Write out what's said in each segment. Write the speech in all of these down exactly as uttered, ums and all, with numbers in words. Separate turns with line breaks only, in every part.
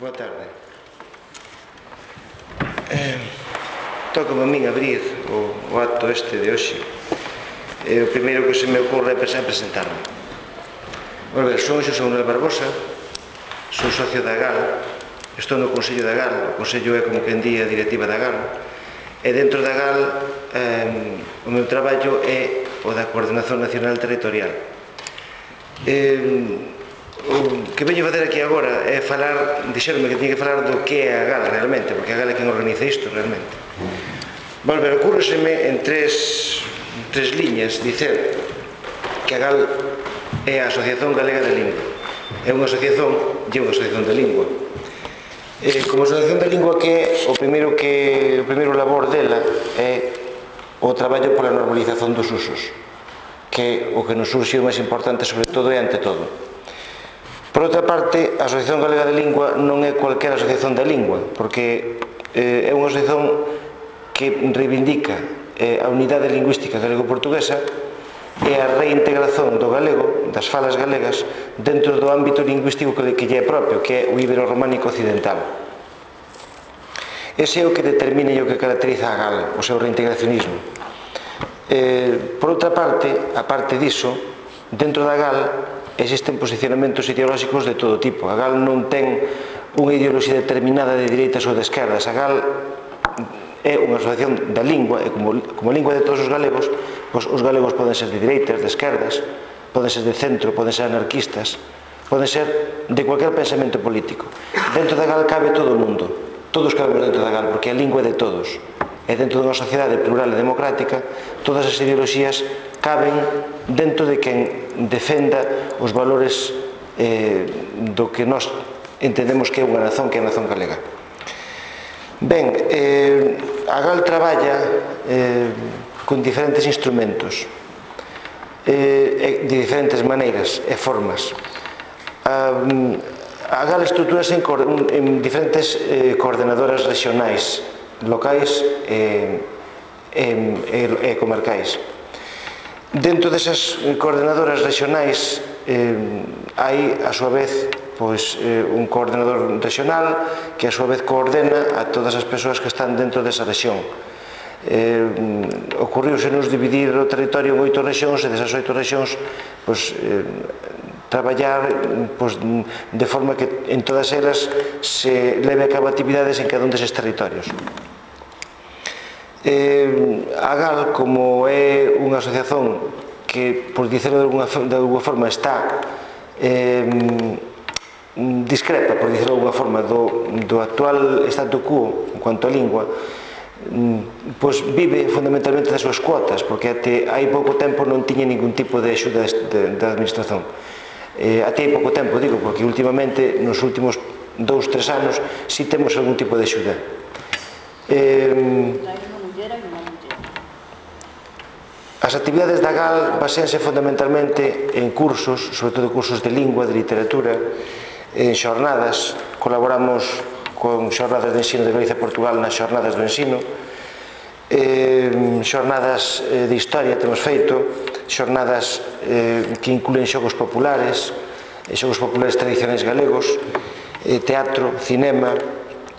Boa tarde. Eh, Tócame a min abrir o, o acto este de hoxe. Eh, o primeiro que se me ocorre é presentarme. Bueno, ver, son Xosé Manuel Barbosa, son socio da GAL, estou no Consello da GAL, o Consello é como quen di a directiva da GAL, e dentro da GAL eh, o meu traballo é o da Coordenación Nacional Territorial. Eh, o que veño facer aquí agora é falar, dixeronme que tiña que falar do que é a GAL realmente, porque a GAL é quen organiza isto realmente. Volver, ocurreseme en tres, tres liñas dicer que a GAL é a Asociación Galega de Lingua. É unha asociación, e unha asociación de lingua. Eh, como asociación de lingua, que é o primeiro que o primeiro labor dela é o traballo pola normalización dos usos, que o que nos surxe o máis importante sobre todo e ante todo. Por outra parte, a Asociación Galega de Lingua non é cualquera asociación de lingua, porque eh, é unha asociación que reivindica eh, a unidade lingüística galego-portuguesa e a reintegración do galego, das falas galegas, dentro do ámbito lingüístico que, que lle é propio, que é o ibero-románico occidental. Ese é o que determina e o que caracteriza a GAL, o seu reintegracionismo. Eh, por outra parte, a parte diso, dentro da GAL existen posicionamentos ideolóxicos de todo tipo. A GAL non ten unha ideoloxía determinada de dereitas ou de esquerdas. A GAL é unha asociación da lingua, e como, como a lingua de todos os galegos, pois os galegos poden ser de dereitas, de esquerdas, poden ser de centro, poden ser anarquistas, poden ser de cualquier pensamento político. Dentro da GAL cabe todo o mundo, todos cabemos dentro da GAL, porque a lingua é de todos. E dentro dunha sociedade plural e democrática, todas as ideoloxías caben dentro de quen defenda os valores eh, do que nós entendemos que é unha nación, que é a nación galega. Ben, eh, a GAL traballa eh, con diferentes instrumentos, eh, de diferentes maneiras e formas. A, a GAL estruturase en, en diferentes eh, coordenadoras regionais, locais e, e, e, e comarcais. Dentro desas coordenadoras regionais eh, hai, a súa vez, pois, eh, un coordenador regional que a súa vez coordena a todas as persoas que están dentro desa rexión. Eh, ocurriusenos dividir o territorio en oito rexións e desas oito rexións pois, eh, traballar pois, de forma que en todas elas se leve a cabo actividades en cada un deses territorios. Eh, a GAL, como é unha asociación que, por dicirlo de alguna, de alguna forma, está eh, discrepa, por dicirlo de alguna forma, do, do actual statu quo en cuanto a lingua, pois vive fundamentalmente das súas cuotas, porque até hai pouco tempo non tiña ningún tipo de axuda da administración. Eh, até hai pouco tempo, digo, porque últimamente, nos últimos dous, tres anos, si temos algún tipo de axuda. Eh, As actividades da GAL baséanse fundamentalmente en cursos, sobre todo cursos de lingua, de literatura, en xornadas. Colaboramos con xornadas de ensino de Galicia e Portugal nas xornadas do ensino, eh, xornadas de historia temos feito, xornadas eh, que incluen xogos populares, xogos populares tradicionais galegos, eh, teatro, cinema.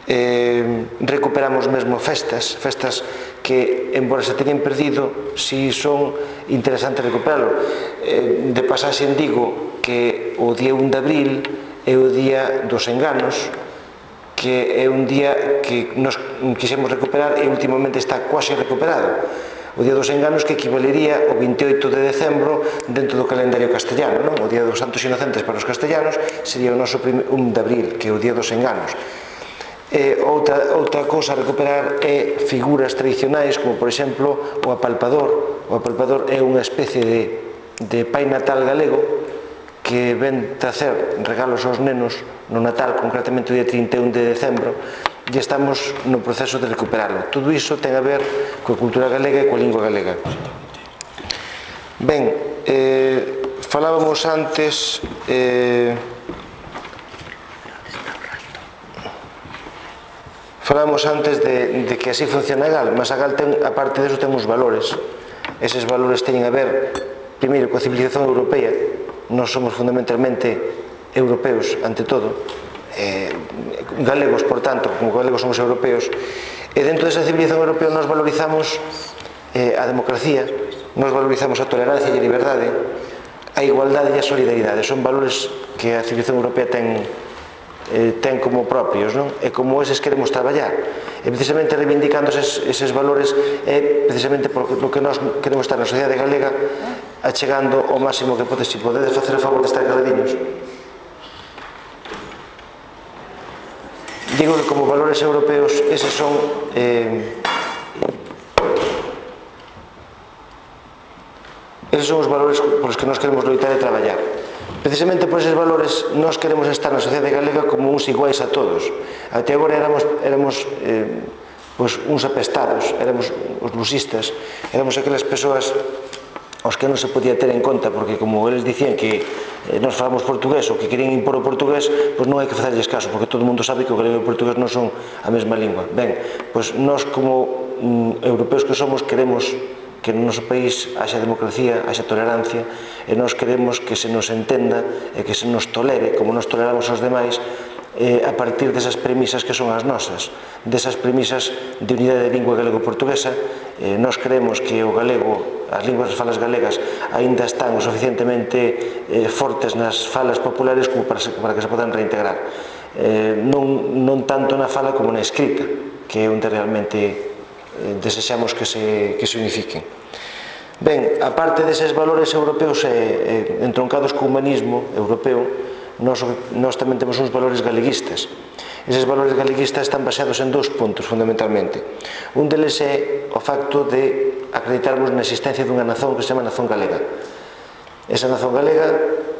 Eh, recuperamos mesmo festas, festas que, embora se teñen perdido, si son interesantes recuperarlo. Eh, de pasaxe en digo que o día un de abril é o día dos enganos, que é un día que nos quixemos recuperar e últimamente está quase recuperado. O día dos enganos, que equivalería ao vinte e oito de decembro dentro do calendario castellano, non? O día dos santos inocentes para os castellanos sería o noso un de abril, que é o día dos enganos. Eh, outra, outra cousa a recuperar é figuras tradicionais, como por exemplo o apalpador. O apalpador é unha especie de, de pai natal galego que ven tracer regalos aos nenos no Natal, concretamente o día trinta e un de decembro, e estamos no proceso de recuperarlo. Todo iso ten a ver coa cultura galega e coa lingua galega. Ben, eh, falábamos antes eh, Falábamos antes de, de que así funciona a GAL, mas a GAL, ten, aparte disso, ten uns valores. Eses valores teñen a ver, primeiro, coa civilización europea. Nós somos fundamentalmente europeos, ante todo, galegos, por tanto, como galegos somos europeos, e dentro desa civilización europea nos valorizamos a democracia, nos valorizamos a tolerancia e a liberdade, a igualdade e a solidaridade. Son valores que a civilización europea ten ten como propios, non? E como eses queremos traballar. E precisamente reivindicando eses valores é precisamente por lo que nós queremos estar na sociedade galega achegando o máximo que podes. Si podedes facer a favor de estar caladiños. Digo que como valores europeos eses son eses son os valores polos que nós queremos loitar e traballar. Precisamente por eses valores nós queremos estar na sociedade galega como uns iguais a todos. Até agora éramos, éramos eh, pues, uns apestados, éramos os lusistas, éramos aquelas persoas aos que non se podía ter en conta, porque como eles dicían que eh, nós falamos portugués ou que querían impor o portugués, pois non hai que facerlles caso, porque todo o mundo sabe que o galego e o portugués non son a mesma lingua. Ben, pois nós como mm, europeos que somos queremos que no noso país haxa democracia, haxa tolerancia, e nós queremos que se nos entenda e que se nos tolere, como nos toleramos aos demais, a partir desas premisas que son as nosas, desas premisas de unidade de lingua galego-portuguesa. Nós creemos que o galego, as linguas das falas galegas, aínda están o suficientemente fortes nas falas populares como para que se podan reintegrar. Non tanto na fala como na escrita, que é onde realmente desexamos que se, que se unifiquen. Ben, a parte deses valores europeos e entroncados co humanismo europeo, nós, nós tamén temos uns valores galeguistas. Eses valores galeguistas están baseados en dous puntos, fundamentalmente. Un deles é o facto de acreditarmos na existencia dunha nazón que se chama nazón galega. Esa nazón galega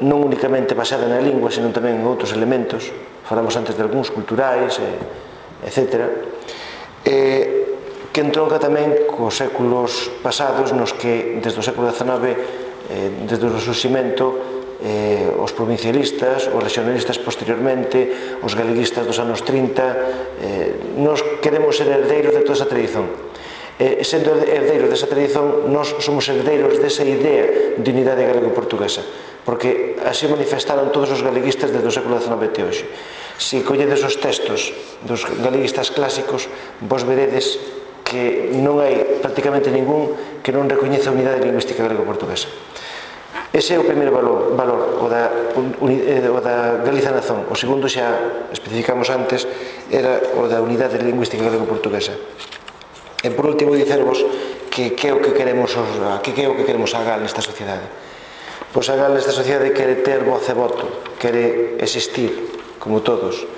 non únicamente basada na lingua, senón tamén en outros elementos, falamos antes de algúns culturais, etcétera, e que entronca tamén cos séculos pasados nos que, desde o século dezanove, desde o resurximento, os provincialistas, os regionalistas posteriormente, os galeguistas dos anos trinta, nos queremos ser herdeiros de toda esa tradición. Sendo herdeiros desa tradición, nos somos herdeiros desa idea de unidade galego-portuguesa, porque así manifestaron todos os galeguistas desde o século dezanove até hoxe. Se colledes os textos dos galeguistas clásicos, vos veredes que non hai prácticamente ningún que non recoñece a unidade lingüística galego-portuguesa. Ese é o primeiro valor, valor o, da, o da Galiza Nazón. O segundo, xa especificamos antes, era o da unidade lingüística galego-portuguesa. E por último, dicervos que que é o que queremos que é o que queremos a Gal nesta sociedade. Pois a Gal nesta sociedade quere ter voz e voto, quere existir, como todos.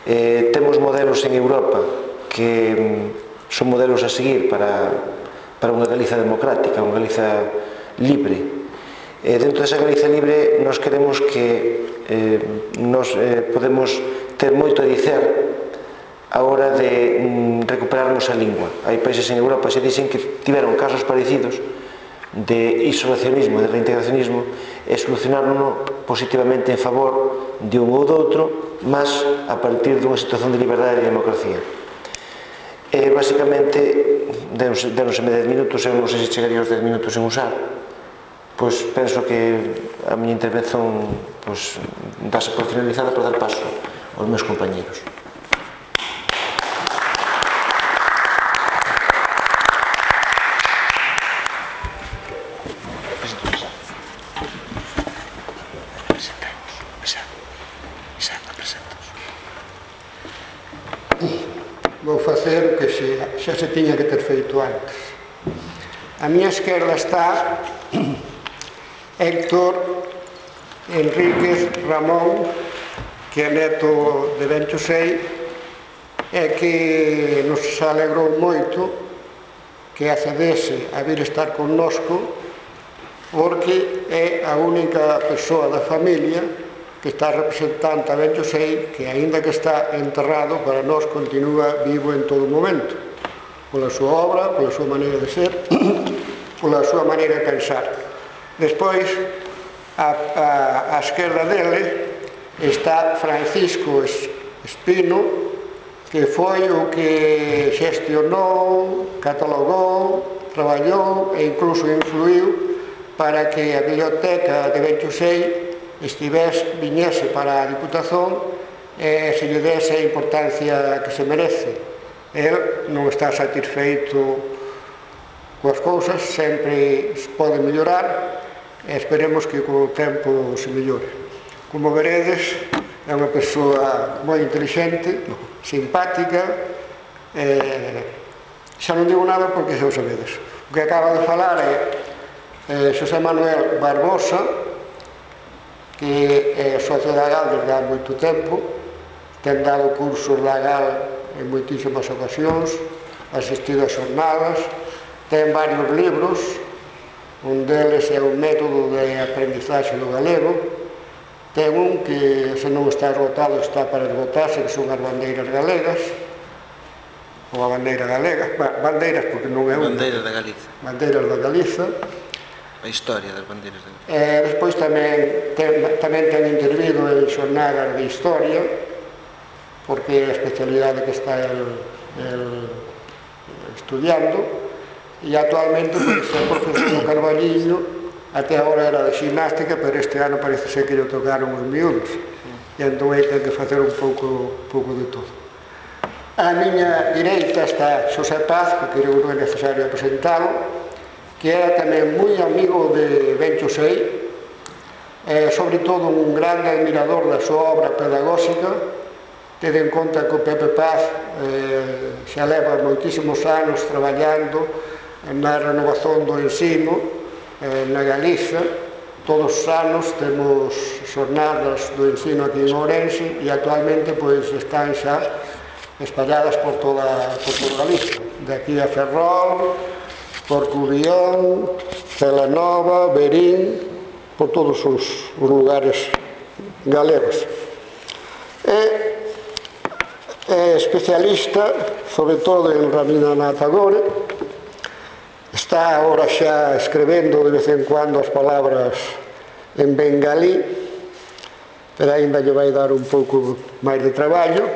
Eh, temos modelos en Europa que son modelos a seguir para, para unha Galiza democrática, unha Galiza libre. E dentro desa Galiza libre nos queremos que eh, nos eh, podemos ter moito a dicer a hora de mm, recuperarnos a lingua. Hai países en Europa que se dicen que tiveron casos parecidos de isolacionismo, de reintegracionismo, e solucionaron positivamente en favor de un ou do outro, mas a partir dunha situación de liberdade e de democracia. E, basicamente, dénoseme dez minutos, eu non sei se chegaría aos dez minutos en usar, pois penso que a miña intervención dase por finalizada para dar paso aos meus compañeros.
Vou facer o que xa se tiña que ter feito antes. A miña esquerda está Héctor Enríquez Ramón, que é neto de Bencho Sei, e que nos alegrou moito que accedese a vir estar connosco, porque é a única persoa da familia que está representante a Bencho Sei, que aínda que está enterrado, para nós continúa vivo en todo momento, pola súa obra, pola súa maneira de ser, pola súa maneira de pensar. Despois, a, a, a esquerda dele está Francisco Espino, que foi o que xestionou, catalogou, traballou e incluso influiu para que a biblioteca de Bencho Sei estivese, viñese para a Diputación e se lle dese a importancia que se merece. El non está satisfeito coas cousas, sempre se pode mellorar e esperemos que con o tempo se mellore. Como veredes, é unha persoa moi inteligente, simpática, e xa non digo nada porque xa o sabedes. O que acaba de falar é eh, Xosé Manuel Barbosa, que é socio da GAL desde há moito tempo, ten dado cursos da GAL en moitísimas ocasións, asistido a xornadas, ten varios libros, un deles é o método de aprendizaxe do galego, ten un que se non está esgotado está para esgotarse, que son as bandeiras galegas, ou a bandeira galega, bandeiras porque non é unha.
Bandeiras da Galiza.
Bandeiras da Galiza.
A historia das bandeiras da Galiza.
E despois tamén ten, tamén ten intervido en xornadas de historia, porque é a especialidade que está el, el estudiando, e actualmente pois, é profesor do Carballiño, até agora era de ximnástica, pero este ano parece ser que lle tocaron os miúdos, e entón aí ten que facer un pouco, pouco de todo. A miña direita está Xosé Paz, que creo que non é necesario presentalo, que era tamén moi amigo de Ben Chosei, e sobre todo un grande admirador da súa obra pedagóxica. Tede en conta que o Pepe Paz eh, xa leva moitísimos anos traballando na renovación do ensino eh, na Galiza. Todos os anos temos xornadas do ensino aquí en Ourense e actualmente pois están xa espalladas por toda, por toda Galiza, de aquí a Ferrol, por Cubión, Celanova, Verín, por todos os, os lugares galegos. É, é especialista, sobre todo en Ramina Tagore, está agora xa escrevendo de vez en cuando as palabras en bengalí, pero ainda lle vai dar un pouco máis de traballo,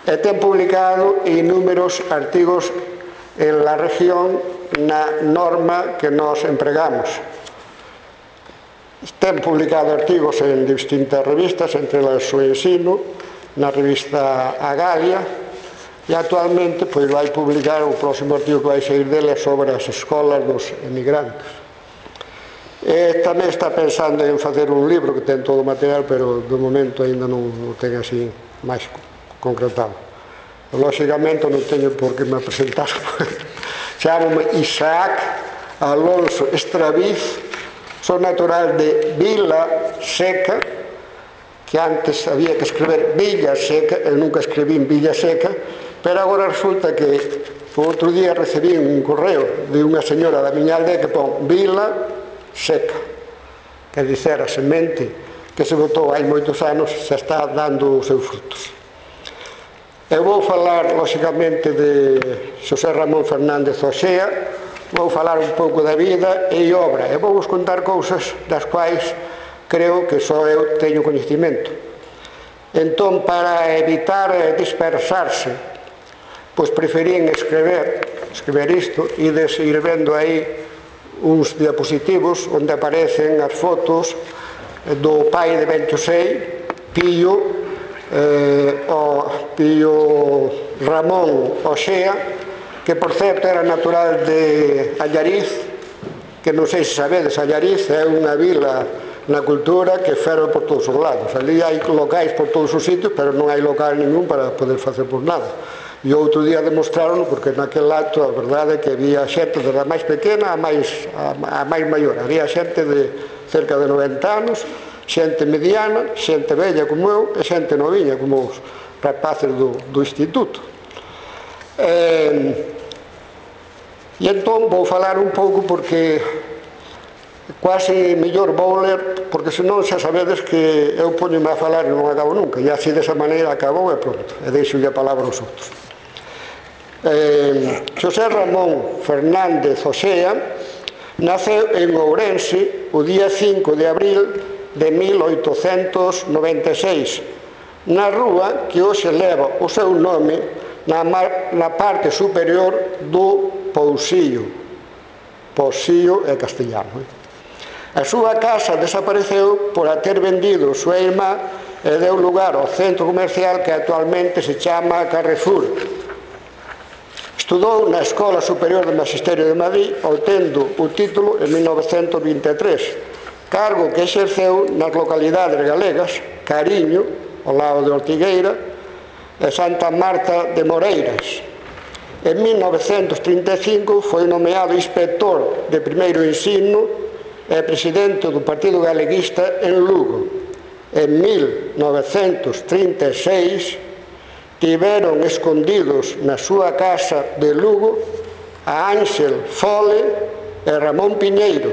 e ten publicado inúmeros artigos en la región na norma que nos empregamos. Ten publicado artigos en distintas revistas, entre las o Ensino, na revista Agalia, e actualmente pois, vai publicar o próximo artigo que vai sair dele sobre as escolas dos emigrantes. E tamén está pensando en facer un libro que ten todo o material, pero de momento ainda non o ten así máis concretado. Lóxicamente non teño por que me presentar. Chámome Isaac Alonso Estraviz, son natural de Vila Seca, que antes había que escribir Villa Seca, eu nunca escribín Villa Seca, pero agora resulta que o outro día recibí un correo de unha señora da miña aldea que pon Vila Seca, que dizer a semente que se botou hai moitos anos xa está dando os seus frutos. Eu vou falar, lóxicamente, de Xosé Ramón Fernández Oxea, vou falar un pouco da vida e obra, e vou vos contar cousas das quais creo que só eu teño coñecimento. Entón, para evitar dispersarse, pois preferín escrever, escrever isto, e des ir vendo aí uns diapositivos onde aparecen as fotos do pai de Ben Chosei, Pío, Eh, o Pío Ramón Oxea, que por certo era natural de Allariz, que non sei se sabedes, Allariz é unha vila na cultura que ferve por todos os lados. Ali hai locais por todos os sitios, pero non hai local ningún para poder facer por nada. E outro día demostraron, porque naquel acto a verdade é que había xente desde a máis pequena a máis, a, a máis maior. Había xente de cerca de noventa anos, xente mediana, xente bella como eu e xente noviña como os rapaces do, do instituto. E, e entón vou falar un pouco porque quase mellor vou ler, porque senón xa sabedes que eu poñome a falar e non acabo nunca, e así desa maneira acabou e pronto, e deixo-lle a palabra aos outros. Eh, Xosé Ramón Fernández Oxea naceu en Ourense o día cinco de abril de mil oitocentos noventa e seis, na rúa que hoxe leva o seu nome na, na parte superior do Pousillo. Pousillo é castellano. A súa casa desapareceu por a ter vendido súa irmá e deu lugar ao centro comercial que actualmente se chama Carrefour. Estudou na Escola Superior de Magisterio de Madrid, obtendo o título en mil novecentos vinte e tres, cargo que exerceu nas localidades galegas Cariño, ao lado de Ortigueira, e Santa Marta de Moreiras. En mil novecentos trinta e cinco foi nomeado inspector de primeiro ensino e presidente do Partido Galeguista en Lugo. En mil novecentos trinta e seis tiveron escondidos na súa casa de Lugo a Ángel Fole e Ramón Piñeiro,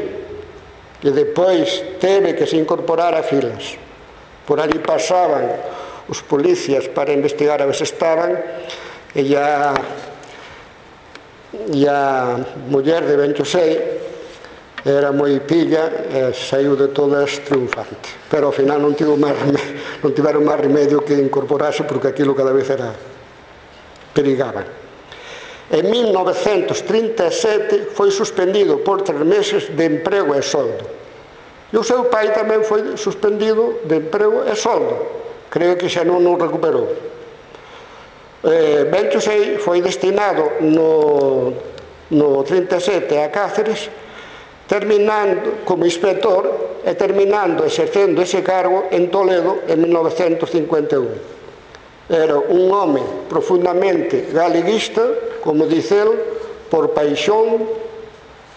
que depois teve que se incorporar a filas. Por ali pasaban os policías para investigar a ver se estaban, e a, e a muller de Benchosei era moi pilla e saiu de todas triunfante, pero ao final non, tivo máis remedio, non tiveron máis remedio que incorporarse, porque aquilo cada vez era perigaban. En mil novecentos trinta e sete foi suspendido por tres meses de emprego e soldo, e o seu pai tamén foi suspendido de emprego e soldo, creo que xa non o recuperou. eh, Benchosei foi destinado no, no trinta e sete a Cáceres, terminando como inspector e terminando exercendo ese cargo en Toledo en mil novecentos cincuenta e un. Era un home profundamente galeguista, como dice el, por paixón,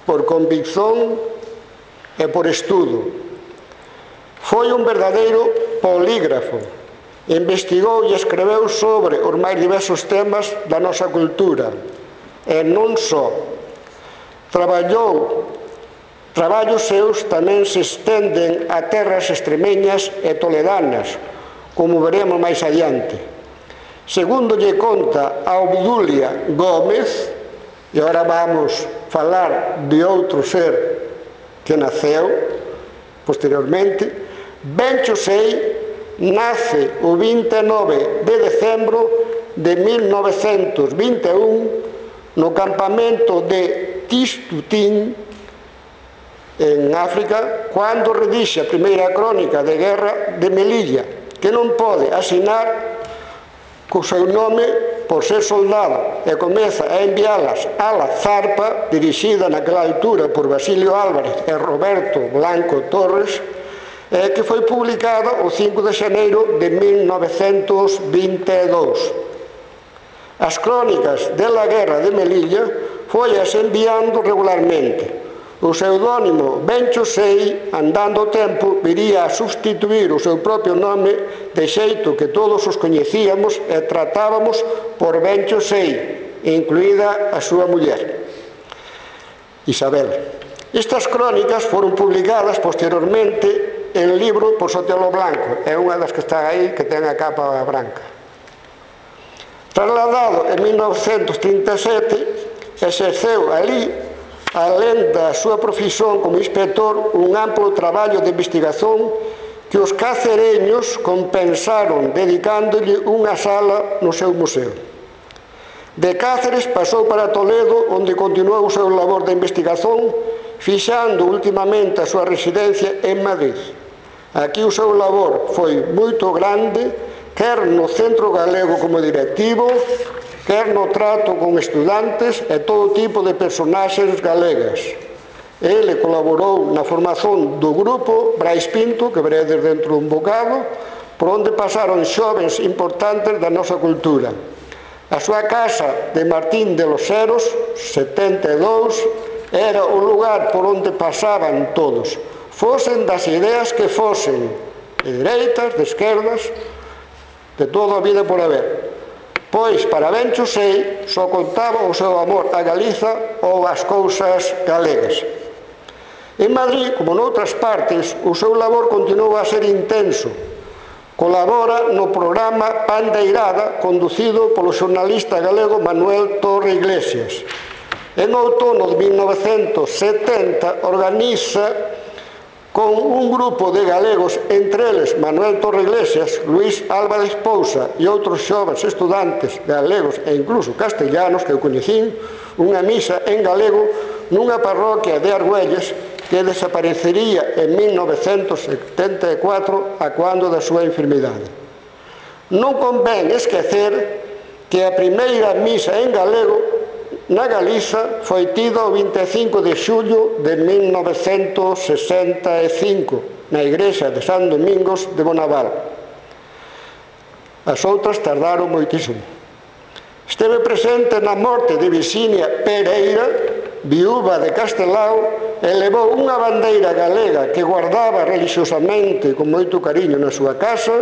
por convicción e por estudo. Foi un verdadeiro polígrafo, investigou e escreveu sobre os máis diversos temas da nosa cultura, e non só. Traballou Traballos seus tamén se estenden a terras extremeñas e toledanas, como veremos máis adiante. Segundo lle conta a Obdulia Gómez, e agora vamos falar de outro ser que naceu posteriormente, Benchosei nace o vinte e nove de decembro de mil novecentos vinte e un no campamento de Tistutín, en África, cando redixe a primeira crónica de guerra de Melilla, que non pode asinar co seu nome por ser soldado, e comeza a enviálas a la Zarpa, dirixida naquela altura por Basilio Álvarez e Roberto Blanco Torres, e que foi publicada o cinco de xaneiro de mil novecentos vinte e dous. As crónicas de la guerra de Melilla foi as enviando regularmente. O pseudónimo Benchosei, andando o tempo, viría a sustituir o seu propio nome, de xeito que todos os coñecíamos e tratábamos por Benchosei, incluída a súa muller, Isabel. Estas crónicas foron publicadas posteriormente en libro por Sotelo Blanco, é unha das que está aí, que ten a capa branca. Trasladado en mil novecentos trinta e sete, exerceu ali, alén da súa profesión como inspector, un amplo traballo de investigación que os cacereños compensaron dedicándolle unha sala no seu museo. De Cáceres pasou para Toledo, onde continuou o seu labor de investigación, fixando ultimamente a súa residencia en Madrid. Aquí o seu labor foi moito grande, quer no Centro Galego como directivo, quer no trato con estudantes e todo tipo de personaxes galegas. Ele colaborou na formación do grupo Brais Pinto, que veredes dentro dun bocado, por onde pasaron xovens importantes da nosa cultura. A súa casa de Martín de los Heros, setenta e dous, era o lugar por onde pasaban todos, fosen das ideas que fosen, de dereitas, de esquerdas, de toda a vida por haber. Pois para Benchosei só contaba o seu amor a Galiza ou as cousas galegas. En Madrid, como noutras partes, o seu labor continua a ser intenso. Colabora no programa Pandeirada, conducido polo xornalista galego Manuel Torre Iglesias. En outono de mil novecentos setenta organiza con un grupo de galegos, entre eles Manuel Torre Iglesias, Luís Álvarez Pousa e outros xovens estudantes galegos e incluso castellanos que eu coñecín, unha misa en galego nunha parroquia de Argüelles que desaparecería en mil novecentos setenta e catro a cando da súa enfermidade. Non convén esquecer que a primeira misa en galego na Galiza foi tida o vinte e cinco de xullo de mil novecentos sesenta e cinco na igrexa de San Domingos de Bonaval. As outras tardaron moitísimo. Esteve presente na morte de Virxinia Pereira, viúva de Castelao, e levou unha bandeira galega que guardaba religiosamente con moito cariño na súa casa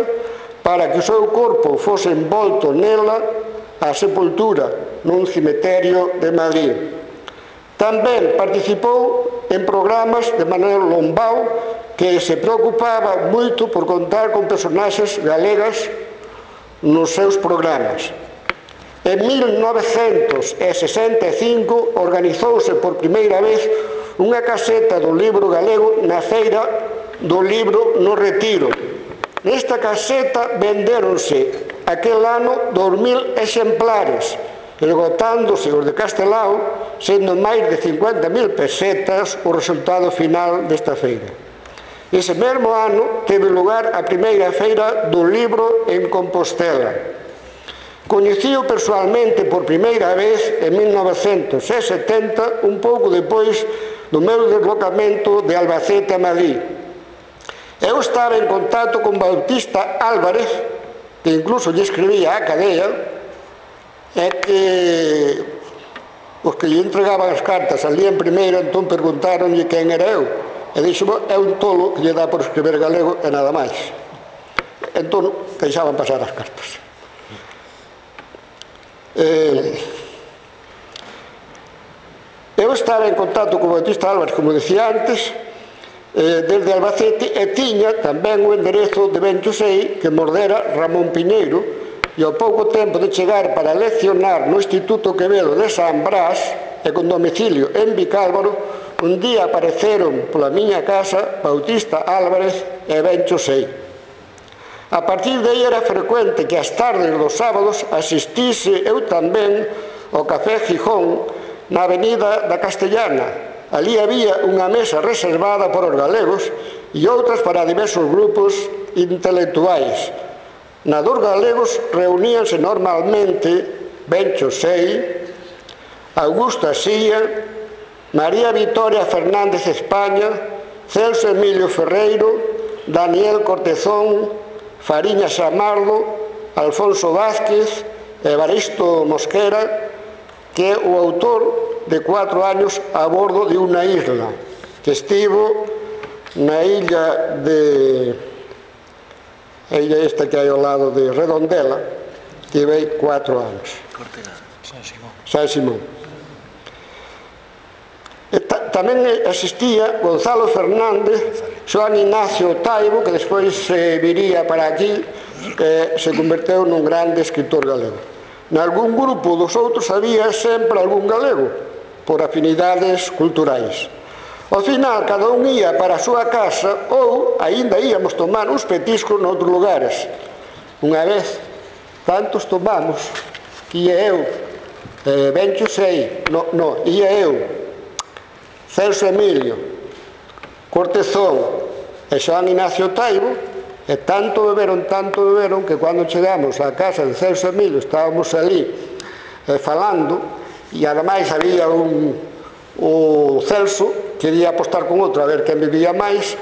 para que o seu corpo fose envolto nela a sepultura nun cemiterio de Madrid. Tamén participou en programas de Manuel Lombao, que se preocupaba moito por contar con personaxes galegas nos seus programas. En mil novecentos sesenta e cinco organizouse por primeira vez unha caseta do libro galego na feira do libro no Retiro. Nesta caseta vendéronse aquel ano dos mil exemplares, esgotándose os de Castelao, sendo máis de cincuenta mil pesetas o resultado final desta feira. Ese mesmo ano teve lugar a primeira feira do libro en Compostela. Coñecío persoalmente por primeira vez en mil novecentos setenta, un pouco depois do meu deslocamento de Albacete a Madrid. Eu estaba en contacto con Bautista Álvarez, que incluso lle escribía a cadea, e que os que lle entregaban as cartas al día en primeiro, entón perguntaronlle quen era eu. E dixo, é un tolo que lle dá por escribir galego e nada máis. Entón, deixaban pasar as cartas. Eh, eu estaba en contacto con Bautista Álvarez, como decía antes, eh, desde Albacete, e tiña tamén o enderezo de Benxosei que mordera Ramón Piñeiro, e ao pouco tempo de chegar para leccionar no Instituto Quevedo de San Brás e con domicilio en Vicálvaro, un día apareceron pola miña casa Bautista Álvarez e Benxosei. A partir de aí era frecuente que as tardes dos sábados asistise eu tamén ao Café Gijón na avenida da Castellana. Ali había unha mesa reservada por os galegos e outras para diversos grupos intelectuais. Na dos galegos reuníanse normalmente Benxosei, Augusto Asía, María Vitoria Fernández España, Celso Emilio Ferreiro, Daniel Cortezón, Fariña Samardo, Alfonso Vázquez, Evaristo Mosquera, que é o autor de cuatro años a bordo de unha isla, que estivo na illa de... a illa esta que hai ao lado de Redondela, que vei cuatro anos. San Simón. San Simón. E ta, tamén existía Gonzalo Fernández, Xoán Ignacio Taibo, que despois se viría para aquí, eh, se converteu nun grande escritor galego. Nalgún grupo dos outros había sempre algún galego, por afinidades culturais. Ao final, cada un ía para a súa casa ou aínda íamos tomar uns petiscos noutros lugares. Unha vez, tantos tomamos, que ia eu, eh, Benxosei, no, no, ia eu, Celso Emilio, Cortezón e Xoán Ignacio Taibo, e tanto beberon, tanto beberon, que cando chegamos á casa de Celso Emilio estábamos ali eh, falando, e ademais había un, o Celso quería apostar con outro a ver quen bebía máis,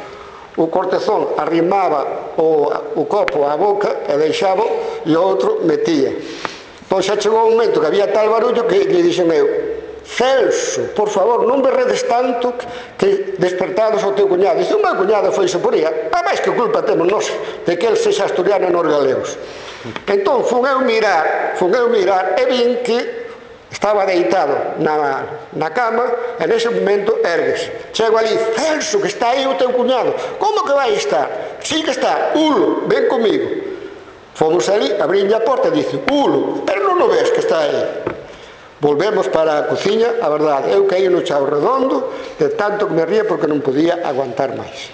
o Cortezón arrimaba o, o copo á boca e deixaba, e o outro metía. Pois xa chegou un momento que había tal barullo que lle dixen eu, Celso, por favor, non berredes tanto que despertados ao teu cuñado. Dice, o meu cuñado foise por aí, a máis que culpa temos nós de que el sexa asturiano e nos galegos. Entón, fun eu mirar, fun eu mirar e vin que estaba deitado na, na cama, e nese momento ergues. Chego ali, Celso, que está aí o teu cuñado. Como que vai estar? Sí que está, Ulo, ven comigo. Fomos ali, abrinlle a porta e dice, Ulo, pero non o ves que está aí? Volvemos para a cociña, a verdade, eu caí no chao redondo, de tanto que me ría porque non podía aguantar máis.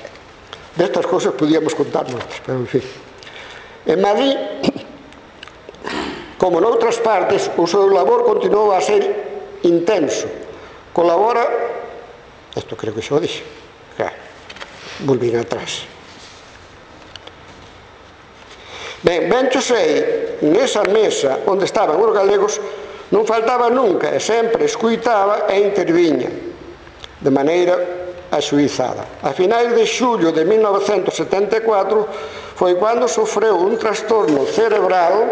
Destas cousas podíamos contar moitas, pero en fin. En Madrid, como noutras partes, o seu labor continuou a ser intenso. Colabora, isto creo que xa o dixe, volvín atrás. Ben, ben xo sei, nesa mesa onde estaban os galegos, non faltaba nunca e sempre escuitaba e interviña de maneira axuizada. A finais de xullo de mil novecentos setenta e catro foi cando sofreu un trastorno cerebral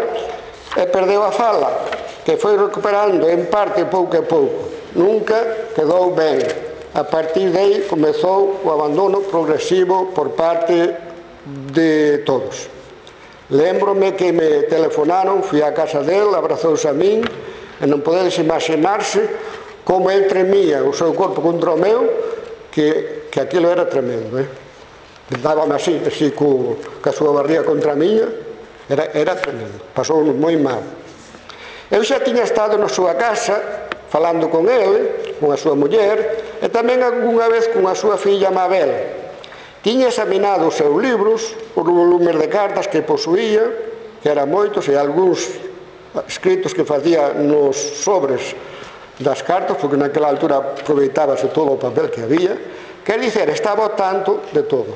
e perdeu a fala, que foi recuperando en parte pouco a pouco. Nunca quedou ben. A partir de aí comezou o abandono progresivo por parte de todos. Lembrome que me telefonaron, fui á casa del, abrazouse a min, e non podedes imaginarse como el tremía o seu corpo contra o meu, que, que aquilo era tremendo, eh? Dábame así, así co, ca súa barriga contra a miña, era, era tremendo, pasou moi mal. Eu xa tiña estado na súa casa, falando con ele, con a súa muller, e tamén algunha vez con a súa filla Mabel. Tiña examinado os seus libros, os volumes de cartas que posuía, que eran moitos, e algúns escritos que facía nos sobres das cartas, porque naquela altura aproveitábase todo o papel que había. Quer dizer, estaba ao tanto de todo.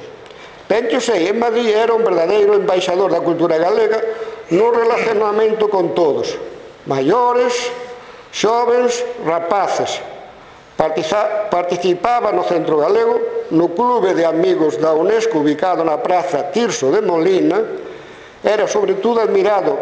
Ben que sei, en Madrid era un verdadeiro embaixador da cultura galega no relacionamento con todos, maiores, xovens, rapaces. Participaba no Centro Galego, no Clube de Amigos da UNESCO ubicado na Praza Tirso de Molina. Era sobre todo admirado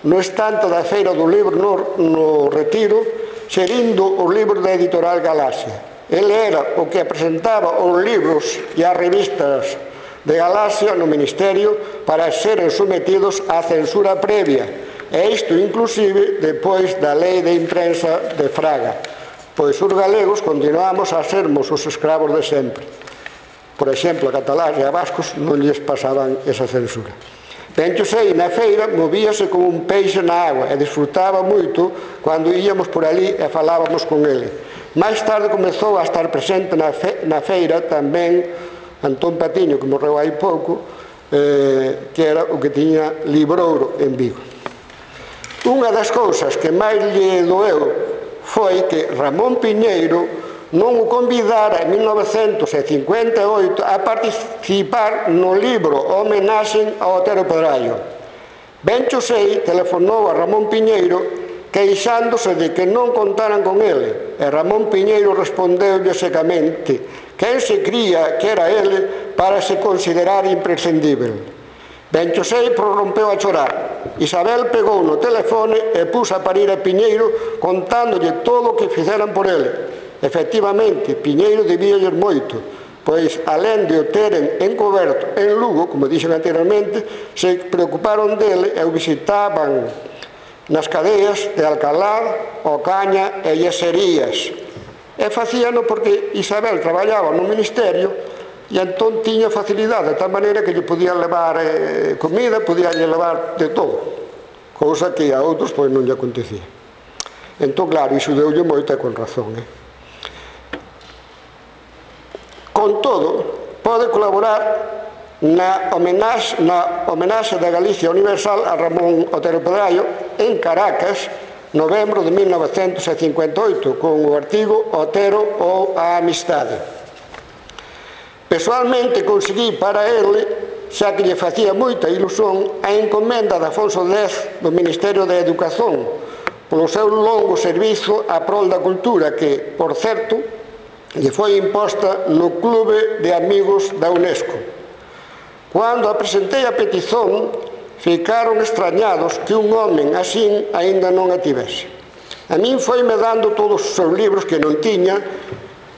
no estante da Feira do Libro no, no Retiro, xerindo os libros da editorial Galaxia. Ele era o que presentaba os libros e as revistas de Galaxia no Ministerio para seren sometidos á censura previa, e isto inclusive depois da Lei de Imprensa de Fraga, pois os galegos continuamos a sermos os escravos de sempre. Por exemplo, a catalás e a vascos non lles pasaban esa censura. Ben que sei, na feira movíase como un peixe na agua e disfrutaba moito cando íamos por ali e falábamos con ele. Mais tarde comezou a estar presente na, fe, na feira tamén Antón Patiño, que morreu hai pouco, eh, que era o que tiña Librouro en Vigo. Unha das cousas que máis lle doeu foi que Ramón Piñeiro non o convidara en mil novecentos cincuenta e oito a participar no libro Homenaxe ao Otero Pedraio. Ben xo sei, telefonou a Ramón Piñeiro queixándose de que non contaran con ele, e Ramón Piñeiro respondeulle secamente quen se cría que era ele para se considerar imprescindível. Ben xo sei, prorrompeu a chorar. Isabel pegou no telefone e puso a parir a Piñeiro contándolle todo o que fixeran por ele. Efectivamente, Piñeiro debíalle moito, pois alén de o teren encoberto en Lugo, como dixen anteriormente, se preocuparon dele e o visitaban nas cadeas de Alcalá, Ocaña e Yeserías. E facíano porque Isabel traballaba no Ministerio e entón tiña facilidade, de tal maneira que lle podían levar eh, comida, podían lle levar de todo, cousa que a outros pois non lle acontecía. Entón, claro, iso deulle moito e con razón. Eh? Con todo, pode colaborar na homenaxe, na homenaxe da Galicia Universal a Ramón Otero Pedraio en Caracas, novembro de mil novecentos cincuenta e oito, con o artigo Otero ou a Amistade. Pessoalmente conseguí para ele, xa que lle facía moita ilusión, a encomenda de Afonso X do Ministerio de Educación polo seu longo servizo a prol da cultura que, por certo, lle foi imposta no Clube de Amigos da UNESCO. Cando apresentei a petición, ficaron extrañados que un home así aínda non a tivese. A min foime dando todos os seus libros que non tiña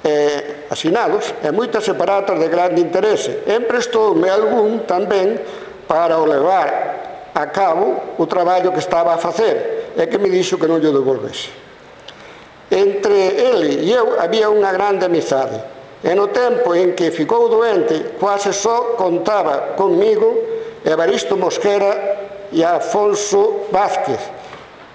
eh, asinados e moitas separatas de grande interese. Emprestoume algún tamén para o levar a cabo o traballo que estaba a facer e que me dixo que non lle devolvese. Entre ele e eu había unha grande amizade e no tempo en que ficou doente quase só contaba comigo Evaristo Mosquera e Afonso Vázquez,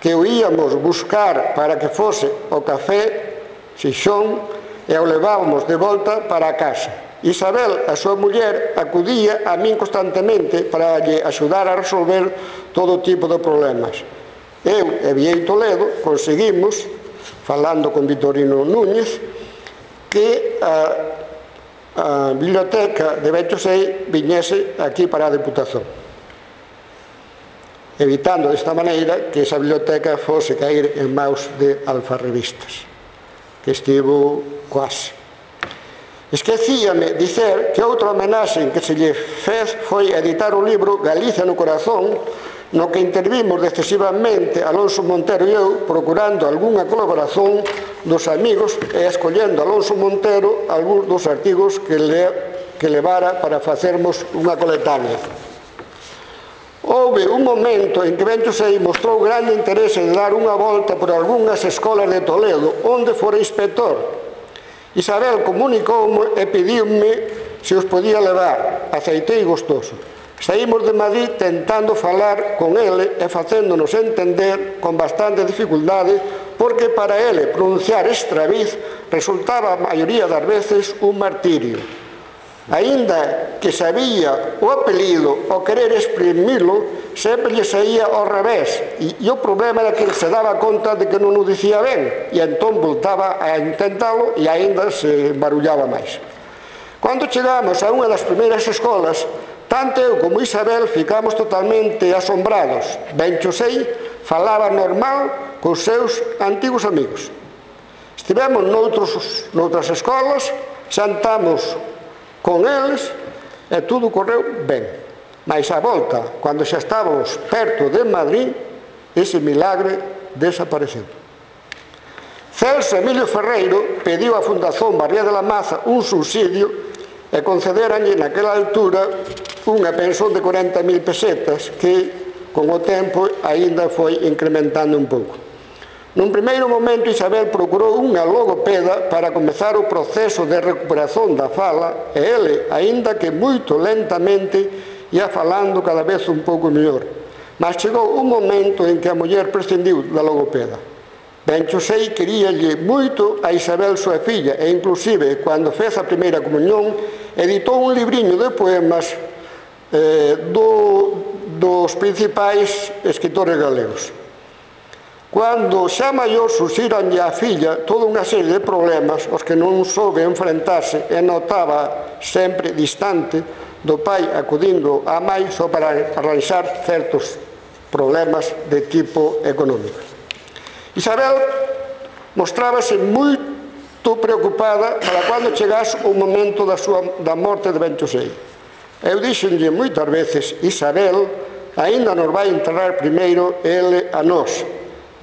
que o íamos buscar para que fose o café Xixón e o levábamos de volta para a casa. Isabel, a súa muller, acudía a min constantemente para lle axudar a resolver todo tipo de problemas. Eu e Viei Toledo conseguimos, falando con Vitorino Núñez, que uh, a biblioteca de Benxosei viñese aquí para a Deputación, evitando desta maneira que esa biblioteca fose caer en maus de alfarrebistas, que estivo quase. Esquecíame dicer que outra homenaxe que se lle fez foi editar o libro Galicia no corazón, no que intervimos decisivamente Alonso Montero e eu, procurando algunha colaboración dos amigos e escollendo Alonso Montero algúns dos artigos que, le, que levara para facermos unha coletánea. Houve un momento en que Benxosei mostrou grande interese de dar unha volta por algunhas escolas de Toledo, onde fora inspector. Isabel comunicoume e pediume se os podía levar. Aceitei gostoso. Saímos de Madrid tentando falar con ele e facéndonos entender con bastante dificultade, porque para ele pronunciar Estraviz resultaba a maioría das veces un martirio. Aínda que sabía o apelido o querer exprimilo, sempre lle saía ao revés, e, e o problema era que se daba conta de que non o dicía ben, e entón voltaba a intentalo e aínda se embarullaba máis. Cando chegamos a unha das primeiras escolas, tanto eu como Isabel ficamos totalmente asombrados. Benxosei falaba normal cos seus antigos amigos. Estivemos noutros, noutras escolas, xantamos con eles e tudo correu ben. Mais a volta, cando xa estábamos perto de Madrid, ese milagre desapareceu. Celso Emilio Ferreiro pediu á Fundación Barría de la Maza un subsidio e concederanlle naquela altura unha pensión de corenta mil pesetas que, con o tempo, aínda foi incrementando un pouco. Nun primeiro momento, Isabel procurou unha logopeda para comezar o proceso de recuperación da fala e ele, aínda que moito lentamente, ia falando cada vez un pouco mellor. Mas chegou un momento en que a muller prescindiu da logopeda. Benxosei queríalle moito a Isabel, súa filla, e inclusive, cando fez a primeira comunión, editou un libriño de poemas eh, do, dos principais escritores galegos. Cando xa maior surxiranlle a filla toda unha serie de problemas aos que non soube enfrentarse e notaba sempre distante do pai acudindo á mai só para arranxar certos problemas de tipo económico. Isabel mostrábase moito preocupada para cando chegase o momento da, súa, da morte de Benxosei. Eu dixenlle moitas veces: Isabel, aínda nos vai enterrar primeiro ele a nós.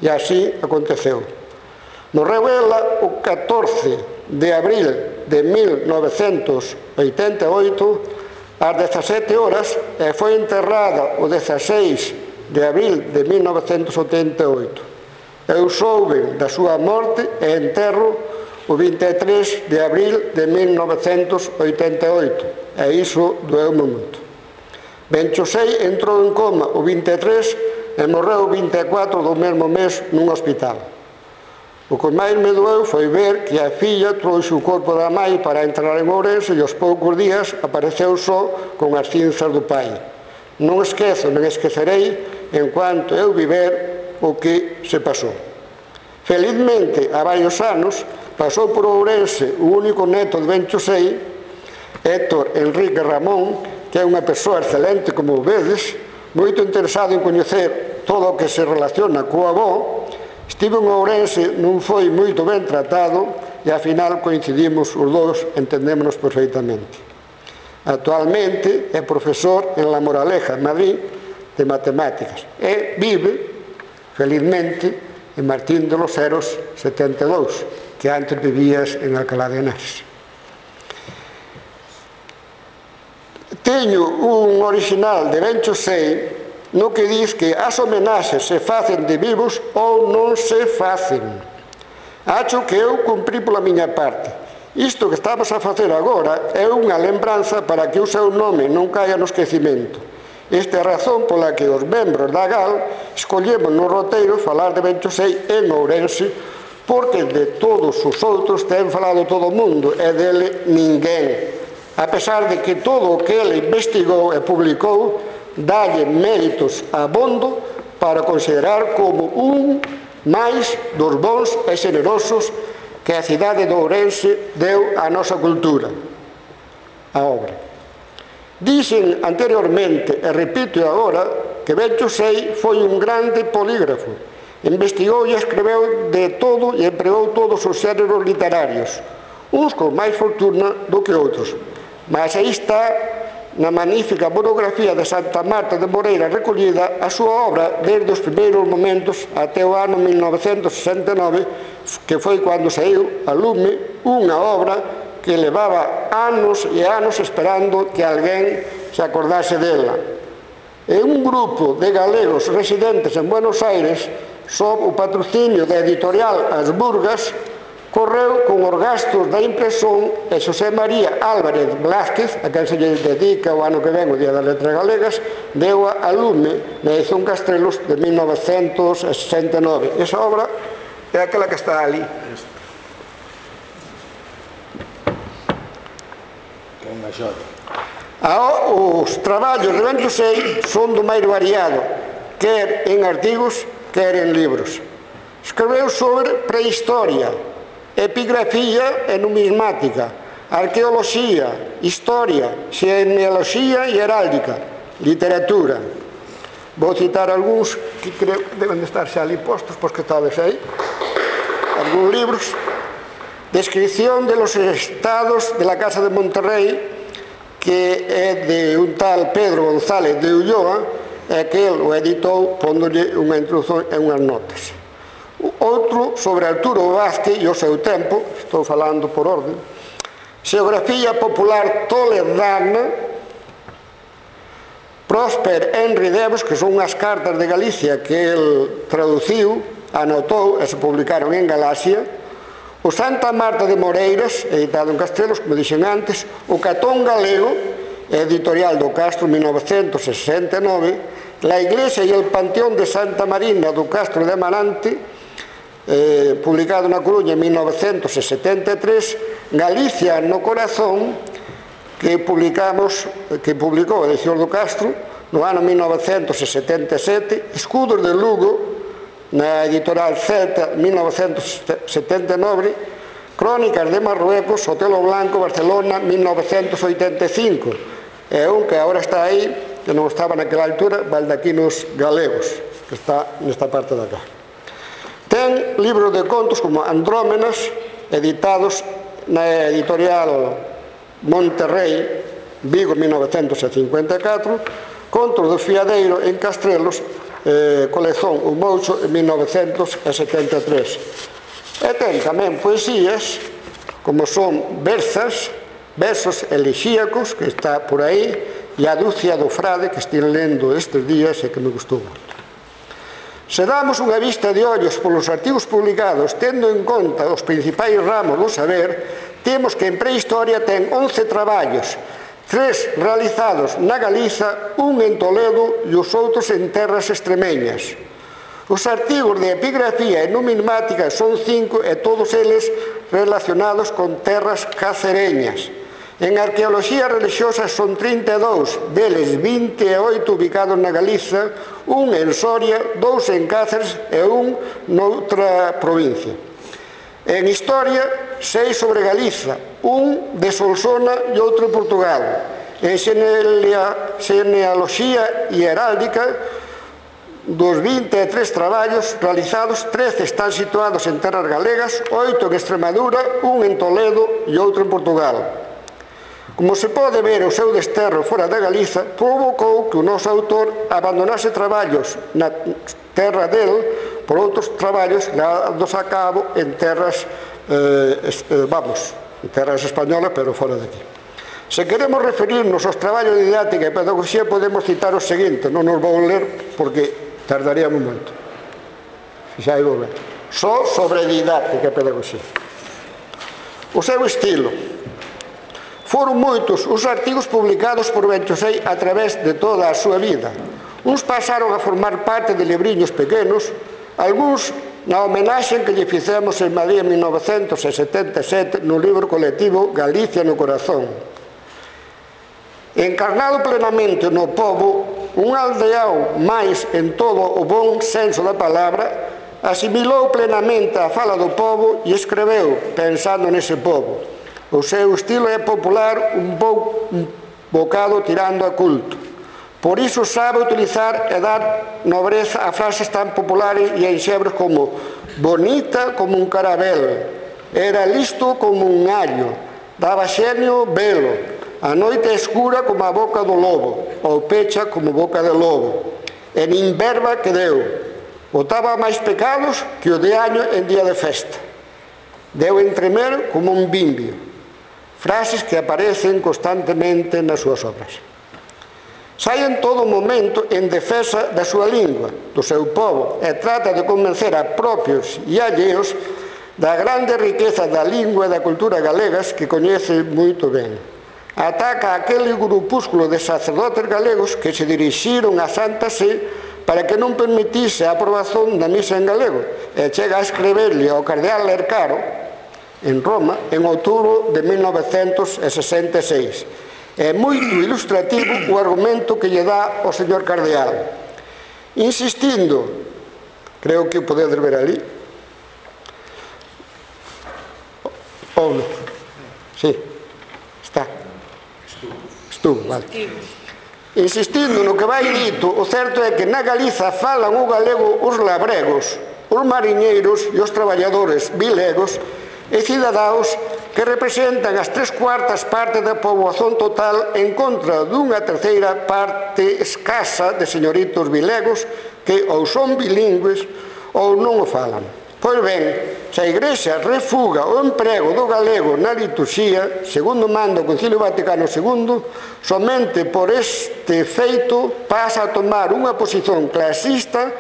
E así aconteceu. Morreu ela o catorce de abril de mil novecentos oitenta e oito ás dezasete horas e foi enterrada o dezaseis de abril de mil novecentos oitenta e oito. Eu soube da súa morte e enterro o vinte e tres de abril de mil novecentos oitenta e oito e iso doeu-me moito. Benxosei entrou en coma o vinte e tres e morreu o vinte e catro do mesmo mes nun hospital. O que máis me doeu foi ver que a filla trouxe o corpo da mai para entrar en Ourense e aos poucos días apareceu só con as cinzas do pai. Non esquezo, non esquecerei, en cuanto eu viver, o que se pasou. Felizmente, há varios anos, pasou por Ourense o único neto de Benxosei, Héctor Enrique Ramón, que é unha persoa excelente, como vedes, moito interesado en coñecer todo o que se relaciona co avó. Estivo en Ourense, non foi moito ben tratado e, ao final, coincidimos os dous, entendémonos perfeitamente. Actualmente é profesor en La Moraleja, en Madrid, de matemáticas e vive, felizmente, en Martín de los Heros setenta e dous, que antes vivías en Alcalá de Henares. Teño un original de Benxosei no que diz que as homenaxes se facen de vivos ou non se facen. Acho que eu cumprí pola miña parte. Isto que estamos a facer agora é unha lembranza para que o seu nome non caia no esquecimento. Esta é a razón pola que os membros da G A L escollemos no roteiro falar de Benxosei en Ourense, porque de todos os outros ten falado todo o mundo e dele ninguén. A pesar de que todo o que ele investigou e publicou dalle méritos abondo para considerar como un máis dos bons e generosos que a cidade de Ourense deu á nosa cultura. a obra. Dixen anteriormente, e repito agora, que Bencho sei foi un grande polígrafo. Investigou e escreveu de todo e empregou todos os xéneros literarios, uns con máis fortuna do que outros. Mas aí está, na magnífica monografía de Santa Marta de Moreira recollida, a súa obra desde os primeiros momentos até o ano mil novecentos sesenta e nove, que foi cando saiu a lume unha obra que levaba anos e anos esperando que alguén se acordase dela. E un grupo de galegos residentes en Buenos Aires, sob o patrocinio da editorial As Burgas, correu con os gastos da impresión e Xosé María Álvarez Blázquez, a quen se lle dedica o ano que ven o Día das Letras Galegas, deu a lume na edición Castrelos de mil novecentos sesenta e nove. Esa obra é aquela que está ali. Os traballos de Bencho sei son do máis variado, quer en artigos, quer en libros. Escreveu sobre prehistoria, epigrafía e numismática, arqueoloxía, historia, genealoxía e heráldica, literatura. Vou citar algúns que creo que deben de estar xa ali postos, pois que talvez aí. Algúns libros. Descripción de los estados de la Casa de Monterrey, que é de un tal Pedro González de Ulloa, e que el o editou pondolle unha introducción e unhas notas. Outro sobre Arturo Vázquez e o seu tempo, estou falando por orden. Xeografía popular toledana, Prósper Henry Devos, que son unhas cartas de Galicia que el traduciu, anotou e se publicaron en Galaxia. O Santa Marta de Moreiras, editado en Castrelos, como dixen antes. O Catón Galego, editorial do Castro, mil novecentos sesenta e nove. La Iglesia e el Panteón de Santa Marina do Castro de Amarante, Eh, publicado na Coruña en mil novecentos setenta e tres. Galicia no Corazón, que publicamos que publicou a edición do Castro no ano mil novecentos setenta e sete. Escudos de Lugo na editorial Celta mil novecentos setenta e nove. Crónicas de Marruecos, Otelo Blanco, Barcelona mil novecentos oitenta e cinco. É un que agora está aí, que non estaba naquela altura, Baldaquinos Galegos, que está nesta parte de acá. Ten libros de contos como Andrómenas, editados na editorial Monterrey, Vigo, mil novecentos cincuenta e catro, Contos do Fiadeiro en Castrelos, eh, colección O Moucho, en mil novecentos setenta e tres. E ten tamén poesías, como son Versas, Versos Elegíacos, que está por aí, e A Dúcia do Frade, que estive lendo estes días e que me gustou moito. Se damos unha vista de ollos polos artigos publicados, tendo en conta os principais ramos do saber, temos que en prehistoria ten once traballos, tres realizados na Galiza, un en Toledo e os outros en terras extremeñas. Os artigos de epigrafía e numismática son cinco e todos eles relacionados con terras cacereñas. En arqueoloxía religiosa son trinta e dous, deles vinte e oito ubicados na Galiza, un en Soria, dous en Cáceres e un noutra provincia. En historia, seis sobre Galiza, un de Solsona e outro en Portugal. En genealoxía e heráldica, dos vinte e tres traballos realizados, trece están situados en terras galegas, oito en Extremadura, un en Toledo e outro en Portugal. Como se pode ver, o seu desterro fora da Galiza provocou que o noso autor abandonase traballos na terra del por outros traballos dados a cabo en terras, eh, vamos, en terras españolas, pero fora de aquí. Se queremos referirnos aos traballos de didáctica e pedagogía, podemos citar os seguintes, non nos vou ler porque tardaríamos moito. Xa vou ver. Só sobre didáctica e pedagogía. O seu estilo. Foron moitos os artigos publicados por Bencho sei a través de toda a súa vida. Uns pasaron a formar parte de libriños pequenos, algúns na homenaxe que lle fixemos en Madrid en mil novecentos setenta e sete no libro colectivo Galicia no Corazón. Encarnado plenamente no pobo, un aldeao máis en todo o bon senso da palabra, asimilou plenamente a fala do pobo e escreveu pensando nese pobo. O seu estilo é popular, un, bo, un bocado tirando a culto. Por iso sabe utilizar e dar nobreza a frases tan populares e enxebros como bonita como un carabel, era listo como un allo, daba xenio velo, a noite escura como a boca do lobo, ou pecha como boca de lobo, e nin verba que deu, botaba máis pecados que o de año en día de festa, deu entremer como un bimbio. Frases que aparecen constantemente nas súas obras. Sai en todo momento en defensa da súa lingua, do seu povo, e trata de convencer a propios e alleos da grande riqueza da lingua e da cultura galegas que coñece moito ben. Ataca aquele grupúsculo de sacerdotes galegos que se dirixiron a Santa Sé para que non permitise a aprobación da misa en galego, e chega a escreverle ao cardeal Lercaro en Roma, en outubro de mil novecentos sesenta e seis. É moito ilustrativo o argumento que lle dá o señor cardeal, insistindo, creo que o podedes ver ali, ou non? Sí, está. Estuvo, vale. Insistindo no que vai dito, o certo é que na Galiza falan o galego os labregos, os mariñeiros e os traballadores vilegos e cidadáns que representan as tres cuartas partes da poboación total en contra dunha terceira parte escasa de señoritos vilegos que ou son bilingües ou non o falan. Pois ben, se a Igrexa refuga o emprego do galego na liturxía, segundo manda o Concilio Vaticano segundo, somente por este feito pasa a tomar unha posición clasista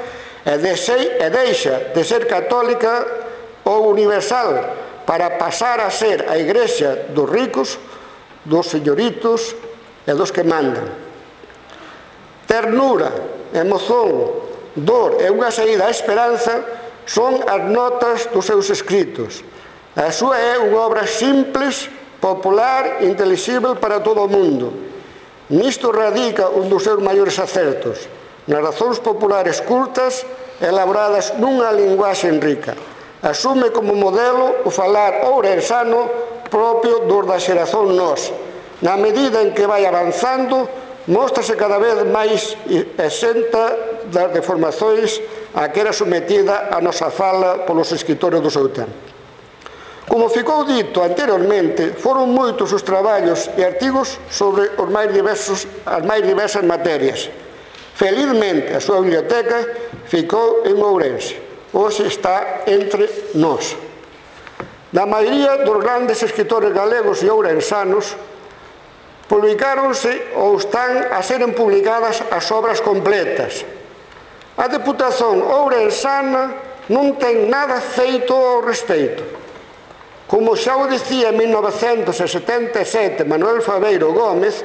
e deixa de ser católica ou universal, para pasar a ser a Igrexa dos ricos, dos señoritos e dos que mandan. Ternura, emoción, dor e unha saída á esperanza son as notas dos seus escritos. A súa é unha obra simples, popular, intelixible para todo o mundo. Nisto radica un dos seus maiores acertos, nas razóns populares cultas elaboradas nunha linguaxe rica. Asume como modelo o falar ourensano propio dos da xeración nós. Na medida en que vai avanzando, móstrase cada vez máis exenta das deformacións a que era sometida a nosa fala polos escritores do seu tempo. Como ficou dito anteriormente, foron moitos os traballos e artigos sobre os máis diversos, as máis diversas materias. Felizmente, a súa biblioteca ficou en Ourense. Hoxe está entre nós. Na maioría dos grandes escritores galegos e ourensanos publicáronse ou están a seren publicadas as obras completas. A Deputación ourensana non ten nada feito ao respecto. Como xa o dicía en mil novecentos setenta e sete Manuel Fabeiro Gómez,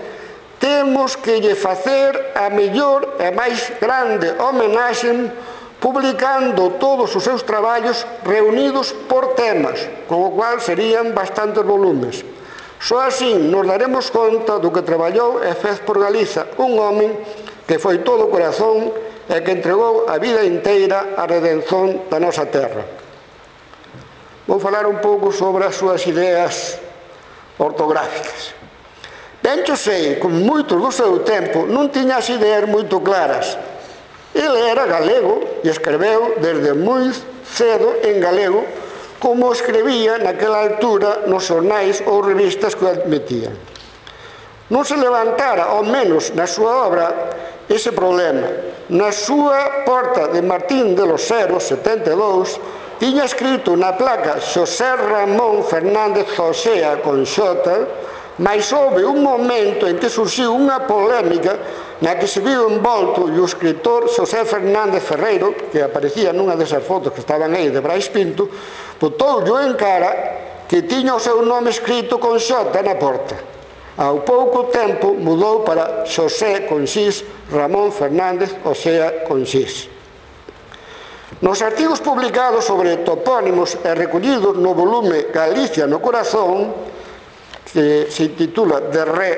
temos que lle facer a mellor e máis grande homenaxe publicando todos os seus traballos reunidos por temas, con o cual serían bastantes volumes. Só así nos daremos conta do que traballou e fez por Galiza un home que foi todo o corazón e que entregou a vida inteira a redención da nosa terra. Vou falar un pouco sobre as súas ideas ortográficas. Ben que sei, como moitos do seu tempo, non tiña as ideas moito claras. Ele era galego e escreveu desde moi cedo en galego, como escribía naquela altura nos xornais ou revistas que o admitían. Non se levantara, ao menos na súa obra, ese problema. Na súa porta de Martín de los Heros, setenta e dous, tiña escrito na placa Xosé Ramón Fernández Josea con xota, mas houve un momento en que surxiu unha polémica na que se viu envolto e o escritor Xosé Fernández Ferreiro, que aparecía nunha desas fotos que estaban aí de Brais Pinto, botoulle en cara que tiña o seu nome escrito con xota na porta. Ao pouco tempo mudou para Xosé con xis, Ramón Fernández, o sea, con xis. Nos artigos publicados sobre topónimos e recollidos no volume Galicia no Corazón, que se titula De Re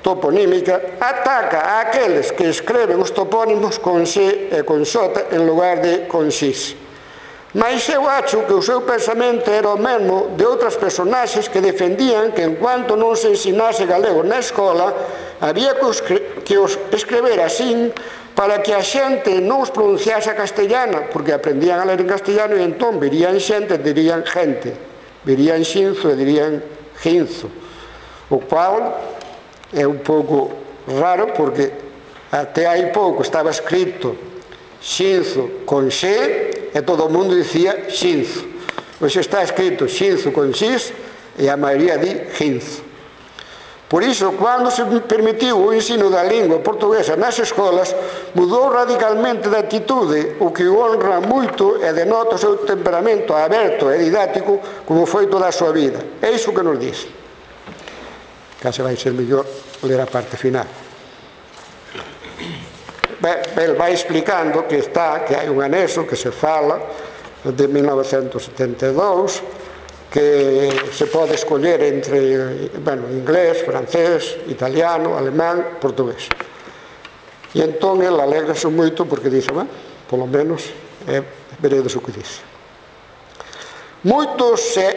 Toponímica, ataca a aqueles que escreven os topónimos con xe e con xota en lugar de con xis. Mas eu acho que o seu pensamento era o mesmo de outras personaxes que defendían que en cuanto non se ensinase galego na escola había que os escrever así para que a xente non os pronunciase a castellana, porque aprendían a ler en castellano e entón verían xente, dirían gente, verían xinzo e dirían ginzo, o cual é un pouco raro porque até hai pouco estaba escrito xinzo con xe e todo o mundo dicía xinzo. Hoxe está escrito xinzo con xis e a maioría di ginzo. Por iso, cando se permitiu o ensino da lingua portuguesa nas escolas, mudou radicalmente de atitude, o que o honra moito e denota o seu temperamento aberto e didáctico como foi toda a súa vida. É iso que nos diz. Case vai ser mellor ler a parte final. El vai explicando que está, que hai un anexo que se fala de mil novecentos setenta e dous, que se pode escoller entre, bueno, inglés, francés, italiano, alemán, portugués. E entón ele alegrase moito porque dice, bueno, polo menos é veredes o que dice. Moitos se,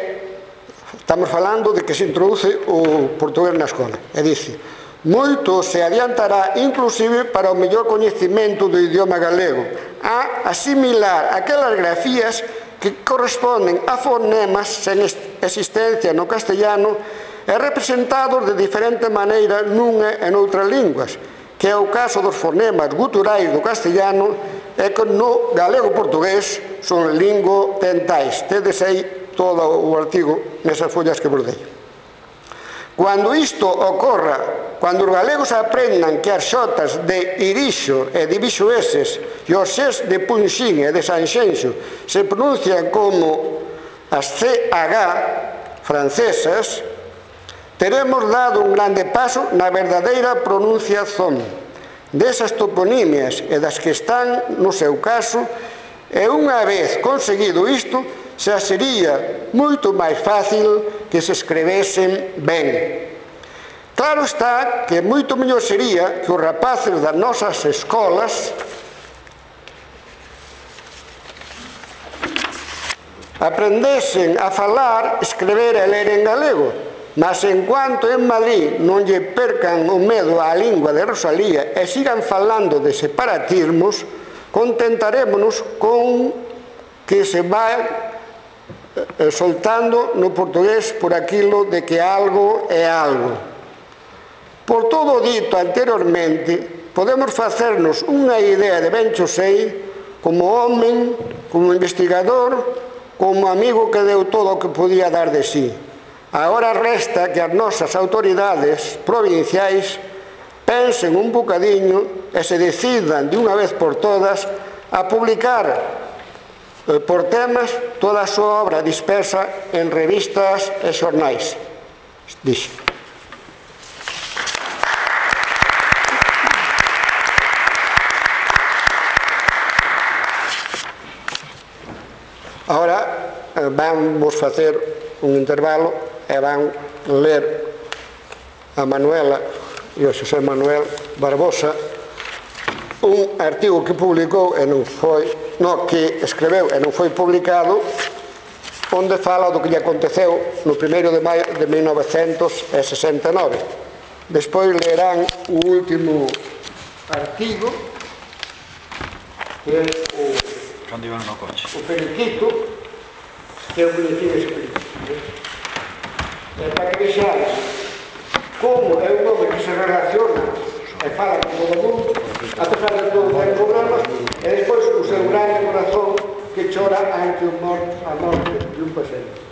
estamos falando de que se introduce o portugués na escola, e dice, moito se adiantará inclusive para o mellor coñecemento do idioma galego a asimilar aquelas grafías que corresponden a fonemas sen existencia no castellano e representados de diferente maneira nunha e noutras linguas, que é o caso dos fonemas guturais do castellano e que no galego-portugués son lingodentais. Tedes aí todo o artigo nesas follas que vos dei. Cando isto ocorra, cando os galegos aprendan que as xotas de irixo e de bixoeses e os xes de punxín e de sanxenxo se pronuncian como as ce agá francesas, teremos dado un grande paso na verdadeira pronunciación desas toponimias e das que están no seu caso, e unha vez conseguido isto, xa sería moito máis fácil que se escrevesen ben. Claro está que moito mellor sería que os rapaces das nosas escolas aprendesen a falar, escrever e ler en galego, mas en cuanto en Madrid non lle percan o medo á lingua de Rosalía e sigan falando de separatismos, contentarémonos con que se vai soltando no portugués por aquilo de que algo é algo. Por todo o dito anteriormente, podemos facernos unha idea de ben Chosei como home, como investigador, como amigo que deu todo o que podía dar de sí. Agora resta que as nosas autoridades provinciais pensen un bocadiño e se decidan de unha vez por todas a publicar por temas toda a súa obra dispersa en revistas e xornais. Dixe. Ahora vamos facer un intervalo e van ler a Manuela e o Xosé Manuel Barbosa un artigo que publicou e non foi no que escreveu e non foi publicado, onde fala do que lle aconteceu no primeiro de maio de mil novecentos sesenta e nove. Despois lerán o último artigo, que é o, o periquito, que é o boletín ese periquito. É para que vexades como é un home que se relaciona e fala con todo o mundo, a pesar de todo o problemas, e despois o seu grande corazón que chora ante a morte de un paciente.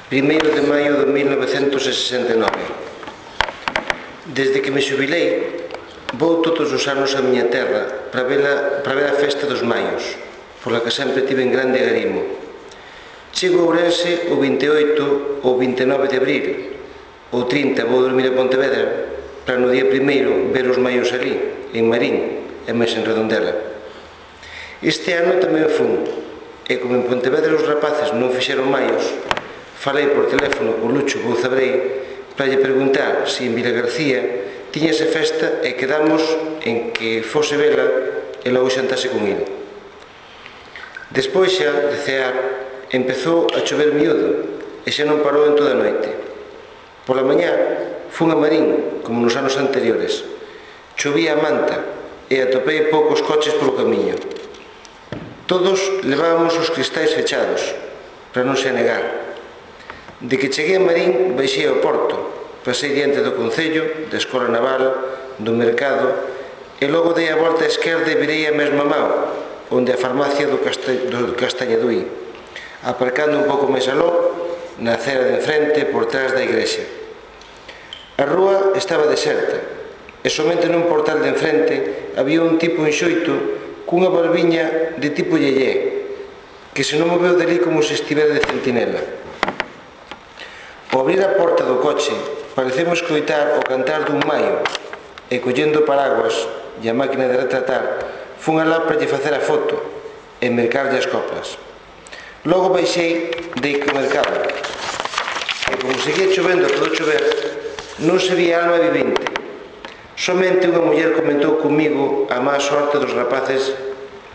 Primeiro de maio de mil novecentos sesenta e nove. Desde que me xubilei, vou todos os anos a miña terra para ver a, para ver a festa dos maios, pola que sempre tive en grande agarimo. Chego a Ourense o vinte e oito ou vinte e nove de abril, o trinta vou dormir a Pontevedra para no día primeiro ver os maios ali, en Marín e máis en Redondela. Este ano tamén fun, e como en Pontevedra os rapaces non fixeron maios, falei por teléfono co Lucho Bouzabrei para lle preguntar se en Vilagarcía tiñase festa e quedamos en que fose vela e logo xantase con ele. Despois xa de cear empezou a chover miúdo e xa non parou en toda a noite. Pola mañá fun a Marín como nos anos anteriores. Chovía a manta e atopei poucos coches polo camiño. Todos levábamos os cristais fechados para non se anegar. De que cheguei a Marín baixei ao porto, pasei diante do Concello, da Escola Naval, do Mercado e logo dei a volta á esquerda e virei a mesma mao, onde a farmacia do, Casta do Castañaduí, aparcando un pouco máis aló, na acera de enfrente, por trás da igrexa. A rúa estaba deserta e somente nun portal de enfrente había un tipo enxoito cunha barbiña de tipo yeyé, que se non moveu dali como se estivera de centinela. Ao abrir a porta do coche, parecemos escoitar o cantar dun maio e collendo paraguas e a máquina de retratar, fun alá para lle facer a foto e mercarlle as coplas. Logo baixei de que mercado e como seguía chovendo a todo chover, non se vía alma vivinte. Somente unha muller comentou comigo a má sorte dos rapaces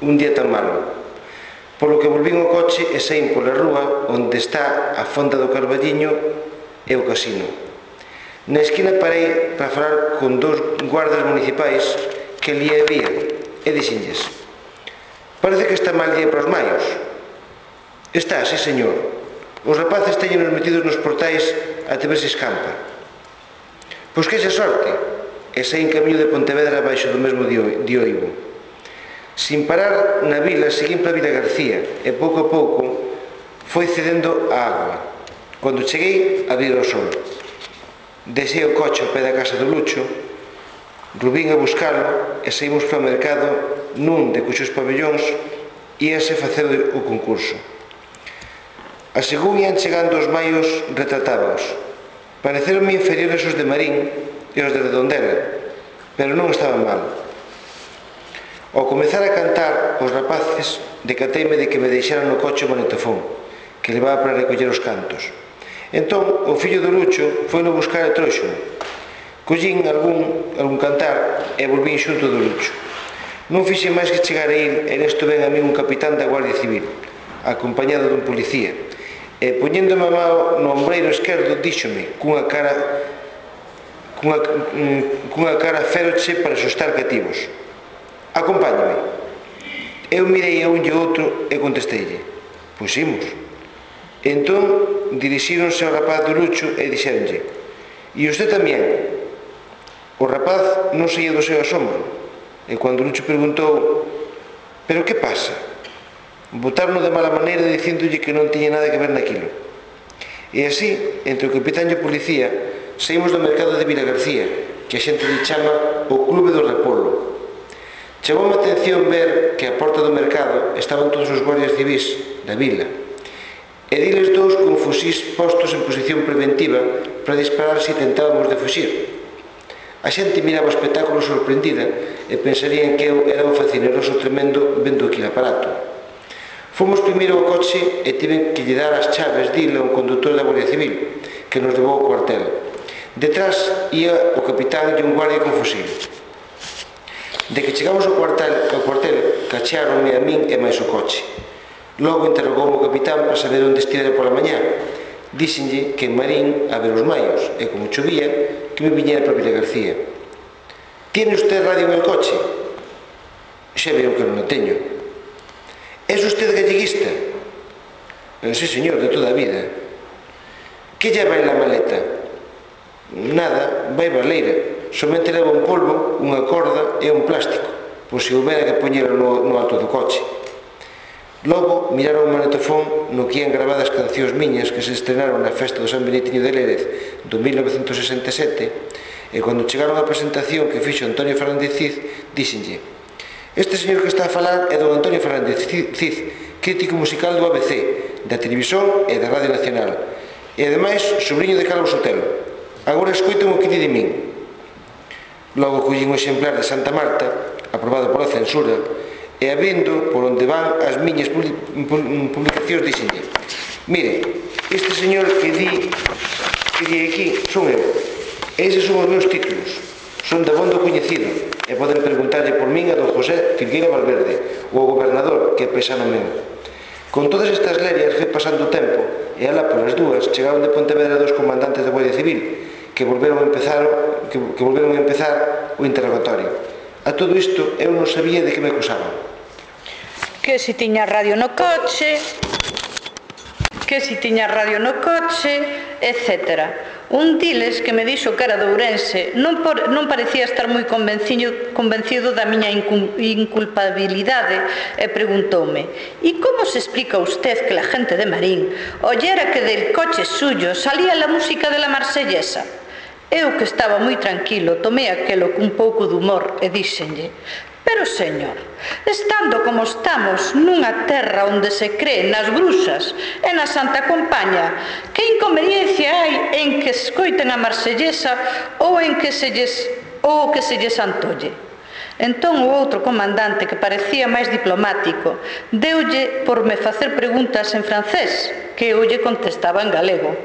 un día tan malo, polo que volvín ao coche e saín pola rúa onde está a fonda do Carballiño e o casino. Na esquina parei para falar con dous guardas municipais que ali había e dixenlles: parece que está mal día para os maios. Está, sí señor. Os rapaces teñenos metidos nos portais até ver se escampa. Pois que xa sorte. E saí en camiño de Pontevedra baixo do mesmo dioivo. Sin parar na vila, seguín para Vilagarcía e pouco a pouco foi cedendo a agua. Cando cheguei, abrir o sol. Deixei o coche ao pé da casa do Lucho, Rubín a buscalo e saímos para o mercado nun de cuxos pabellóns íase facer o concurso. A según ian chegando os maios retratábaos. Pareceronme inferiores os de Marín e os de Redondela, pero non estaban mal. Ao comezar a cantar, os rapaces decateime de que me deixaran no coche o magnetofón, que levaba para recoller os cantos. Entón, o fillo do Lucho foi no buscar e trouxo-me. Collín algún, algún cantar e volvín xunto do Lucho. Non fixe máis que chegar a ir e nesto ven a mí un capitán da Guardia Civil, acompañado dun policía, e poñéndome a mão no ombreiro esquerdo díxome cunha cara cunha, cunha cara feroche para asustar cativos: acompáñame. Eu mirei a un e outro e contesteille: pois imos. Entón dirixíronse ao rapaz do Lucho e dixéronlle: e usted tamén? O rapaz non saía do seu asombro e cando o Lucho preguntou: pero que pasa? Botaron de mala maneira dicíndolle que non tiña nada que ver naquilo. E así, entre o capitán e o policía, saímos do mercado de Vilagarcía, que a xente lle chama o Clube do Repolo. Chamoume a atención ver que a porta do mercado estaban todos os guardias civis da vila, e diles dous con fusís postos en posición preventiva para disparar se tentábamos de fuxir. A xente miraba o espectáculo sorprendida e pensarían que eu era un facineroso tremendo vendo aquele aparato. Fomos primeiro ao coche e tiven que lle dar as chaves dile a un conductor da Guardia Civil, que nos levou ao cuartel. Detrás ia o capitán e un guardia con fusil. De que chegamos ao cuartel, ao cuartel, cachearonme a min e máis o coche. Logo interrogoume o capitán para saber onde estivera pola mañá. Díxenlle que en Marín a ver os maios e, como chovía, que me viñera para Vilagarcía. Tiene usted radio en el coche? Xa veo que non o teño. Es usted galleguista? Sí, señor, de toda a vida. Que lleva en la maleta? Nada, vai baleira. Somente leva un polvo, unha corda e un plástico, pois se houbera que poñera no, no alto do coche. Logo miraron o magnetofón no que ian grabadas cancións miñas que se estrenaron na festa do San Benitiño de Lérez do mil novecentos sesenta e sete, e cando chegaron á presentación que fixo Antonio Fernández Cid, díxenlle: este señor que está a falar é don Antonio Fernández Cid, crítico musical do A B C, da Televisión e da Radio Nacional, e ademais sobrinho de Calvo Sotelo. Agora escoiten o que di de min. Logo collín un exemplar de Santa Marta, aprobado pola censura, e a vendo por onde van as miñas publicacións dixenlle: mire, este señor que di que di aquí son eu, eses son os meus títulos, son de abondo coñecido, e poden preguntarlle por min a don José Filgueira Valverde, ou ao gobernador, que é paisano meu. Con todas estas lerias foi pasando o tempo, e alá polas dúas chegaron de Pontevedra dos comandantes da Guardia Civil, que volveron a empezar, que, que volveron a empezar o interrogatorio. A todo isto eu non sabía de que me acusaban.
Que si tiña radio no coche, que si tiña radio no coche, etcétera. Un diles que me dixo que era de Ourense non, por, non parecía estar moi convencido, convencido da miña inculpabilidade e preguntoume: e como se explica usted que la gente de Marín oyera que del coche suyo salía la música de la marsellesa? Eu, que estaba moi tranquilo, tomei aquelo cun pouco de humor e díxenlle: pero, señor, estando como estamos nunha terra onde se cree nas bruxas e na Santa Compaña, que inconveniencia hai en que escoiten a marsellesa ou en que se lles, ou que se lles antolle? Entón o outro comandante, que parecía máis diplomático, deulle por me facer preguntas en francés, que eu lle contestaba en galego.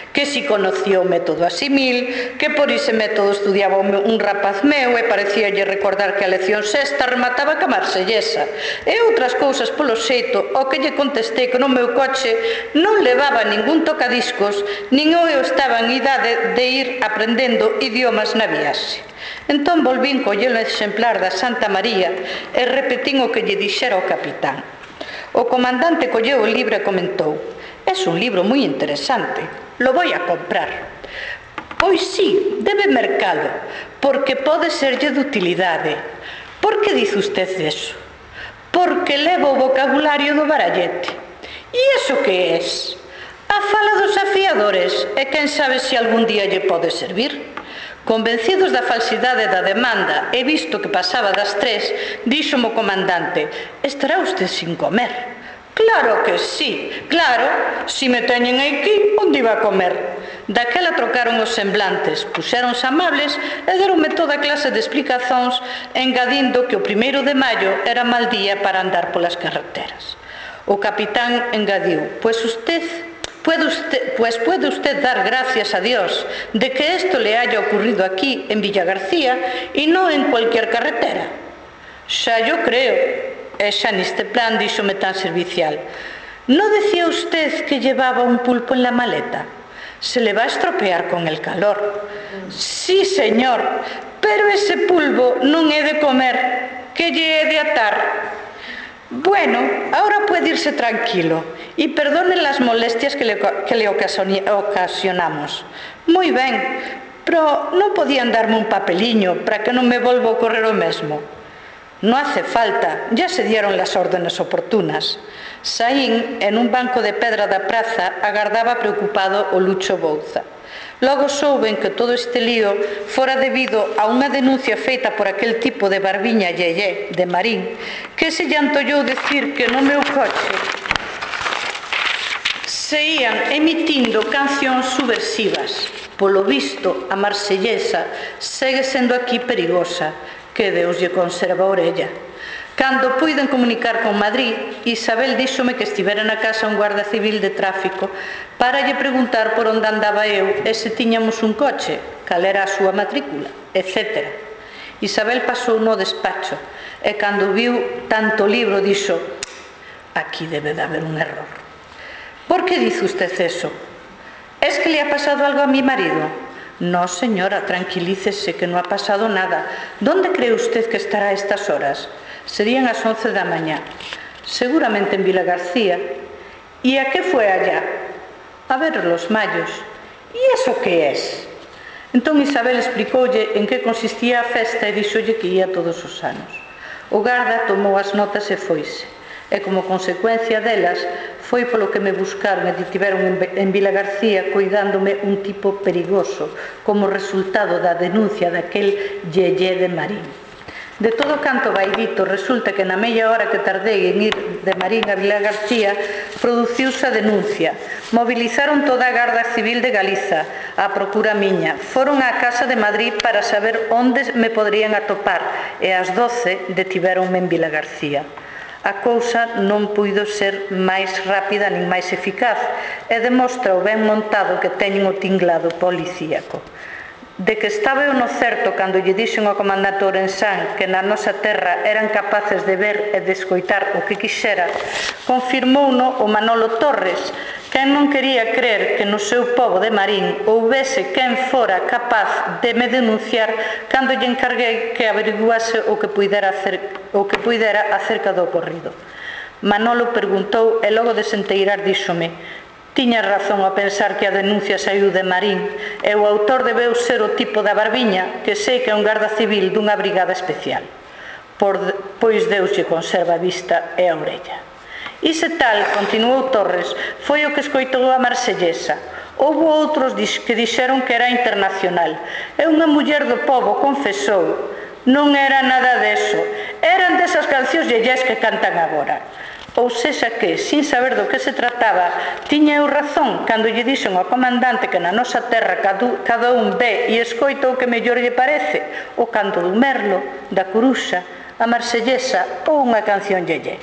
Que si conocía o método asimil, que por ese método estudiaba un rapaz meu e parecíalle recordar que a lección sexta remataba ca marsellesa, e outras cousas polo xeito, o que lle contestei que no meu coche non levaba ningún tocadiscos, nin eu estaba en idade de ir aprendendo idiomas na viaxe. Entón volvín collelo exemplar da Santa María e repetín o que lle dixera o capitán. O comandante colleu o libro e comentou: es un libro moi interesante, lo voy a comprar. Pois sí, debe mercalo, porque pode serlle de utilidade. Por que dice usted eso? Porque levo o vocabulario do barallete. E iso que es? A fala dos afiadores, e quen sabe se algún día lle pode servir. Convencidos da falsidade da demanda e visto que pasaba das tres, díxome o comandante: estará usted sin comer. Claro que sí, claro, si me teñen aquí, onde iba a comer? Daquela trocaron os semblantes, puxéronse amables e deronme toda clase de explicazóns, engadindo que o primeiro de maio era mal día para andar polas carreteras. O capitán engadiu: pues usted, puede usted, pues puede usted dar gracias a Dios de que esto le haya ocurrido aquí en Villagarcía y no en cualquier carretera. Xa yo creo. E xa neste plan díxome tan servicial: ¿no decía usted que llevaba un pulpo en la maleta? Se le va a estropear con el calor. Sí, señor, pero ese pulpo non é de comer, que lle é de atar. Bueno, ahora puede irse tranquilo y perdone las molestias que le, que le ocasionamos. Muy ben, pero non podían darme un papeliño para que non me volva a ocurrir o mesmo. No hace falta, ya se dieron las órdenes oportunas. Saín, en un banco de pedra da praza, agardaba preocupado o Lucho Bouza. Logo souben que todo este lío fora debido a unha denuncia feita por aquel tipo de barbiña yeye de Marín, que se lle antollou decir que no meu coche se ían emitindo cancións subversivas. Polo visto, a marsellesa segue sendo aquí perigosa, que Deus lle conserva a orella. Cando puiden comunicar con Madrid, Isabel díxome que estivera na casa un guarda civil de tráfico para lle preguntar por onde andaba eu e se tiñamos un coche, cal era a súa matrícula, etcétera. Isabel pasou no despacho e cando viu tanto libro dixo: aquí debe de haber un error. ¿Por que dice usted eso? ¿Es que le ha pasado algo a mi marido? No, señora, tranquilícese, que no ha pasado nada. ¿Dónde cree usted que estará a estas horas? Serían las once de la mañana. Seguramente en Vilagarcía. ¿Y a qué fue allá? A ver los mayos. ¿Y eso qué es? Entón Isabel explicoulle en que consistía a festa e dixolle que ia todos os anos. O garda tomou as notas e foise. E como consecuencia delas foi polo que me buscaron e detiveron en Vilagarcía coidándome un tipo perigoso como resultado da denuncia daquel yeye de Marín. De todo canto vai dito, resulta que na media hora que tardei en ir de Marín a Vilagarcía, produciuse a denuncia. Movilizaron toda a Garda Civil de Galiza, a procura miña. Foron á Casa de Madrid para saber onde me poderían atopar e ás doce detivéronme en Vilagarcía. A cousa non puido ser máis rápida nin máis eficaz e demostra o ben montado que teñen o tinglado policíaco. De que estaba eu no certo cando lle dixen ao comandante Ourensán que na nosa terra eran capaces de ver e de escoitar o que quixera, confirmouno o Manolo Torres, quen non quería crer que no seu pobo de Marín houbese quen fora capaz de me denunciar cando lle encarguei que averiguase o que puidera, hacer, o que puidera acerca do ocorrido. Manolo preguntou e logo de senteirar díxome: tiña razón a pensar que a denuncia saiu de Marín e o autor debeu ser o tipo da Barbiña, que sei que é un garda civil dunha brigada especial. Por, pois Deus lle conserva a vista e a orella. Ise tal, continuou Torres, foi o que escoitou a marsellesa. Houbo outros que dixeron que era internacional. E unha muller do pobo confesou: non era nada deso, eran desas cancións yeyés que cantan agora. Ou sexa que, sin saber do que se trataba, tiña eu razón cando lle dixen ao comandante que na nosa terra cada un ve e escoita o que mellor lle parece, o canto do merlo, da coruxa, a marsellesa ou unha canción yeye.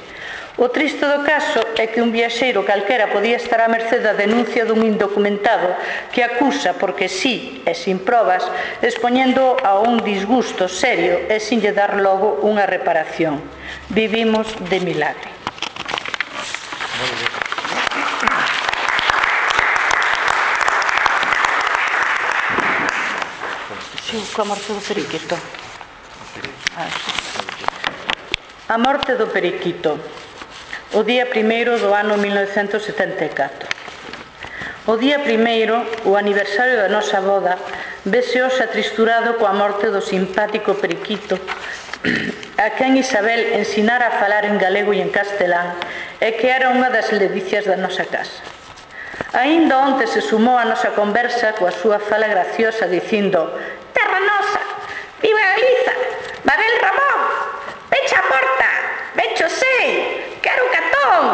O triste do caso é que un viaxeiro calquera podía estar á merced da denuncia dun indocumentado que acusa porque sí e sin probas, expoñendo a un disgusto serio e sin lle dar logo unha reparación. Vivimos de milagre. Sí, coa morte do periquito. A morte do periquito. O día primeiro do ano mil novecentos setenta e catro. O día primeiro, o aniversario da nosa boda, vese hoxe atristurado coa morte do simpático periquito, a quen Isabel ensinara a falar en galego e en castelán, e que era unha das ledicias da nosa casa. Aínda onte se sumou a nosa conversa coa súa fala graciosa dicindo: terra nosa, viva Galiza, Babel Ramón, pecha a porta, vecho sei, quero catón,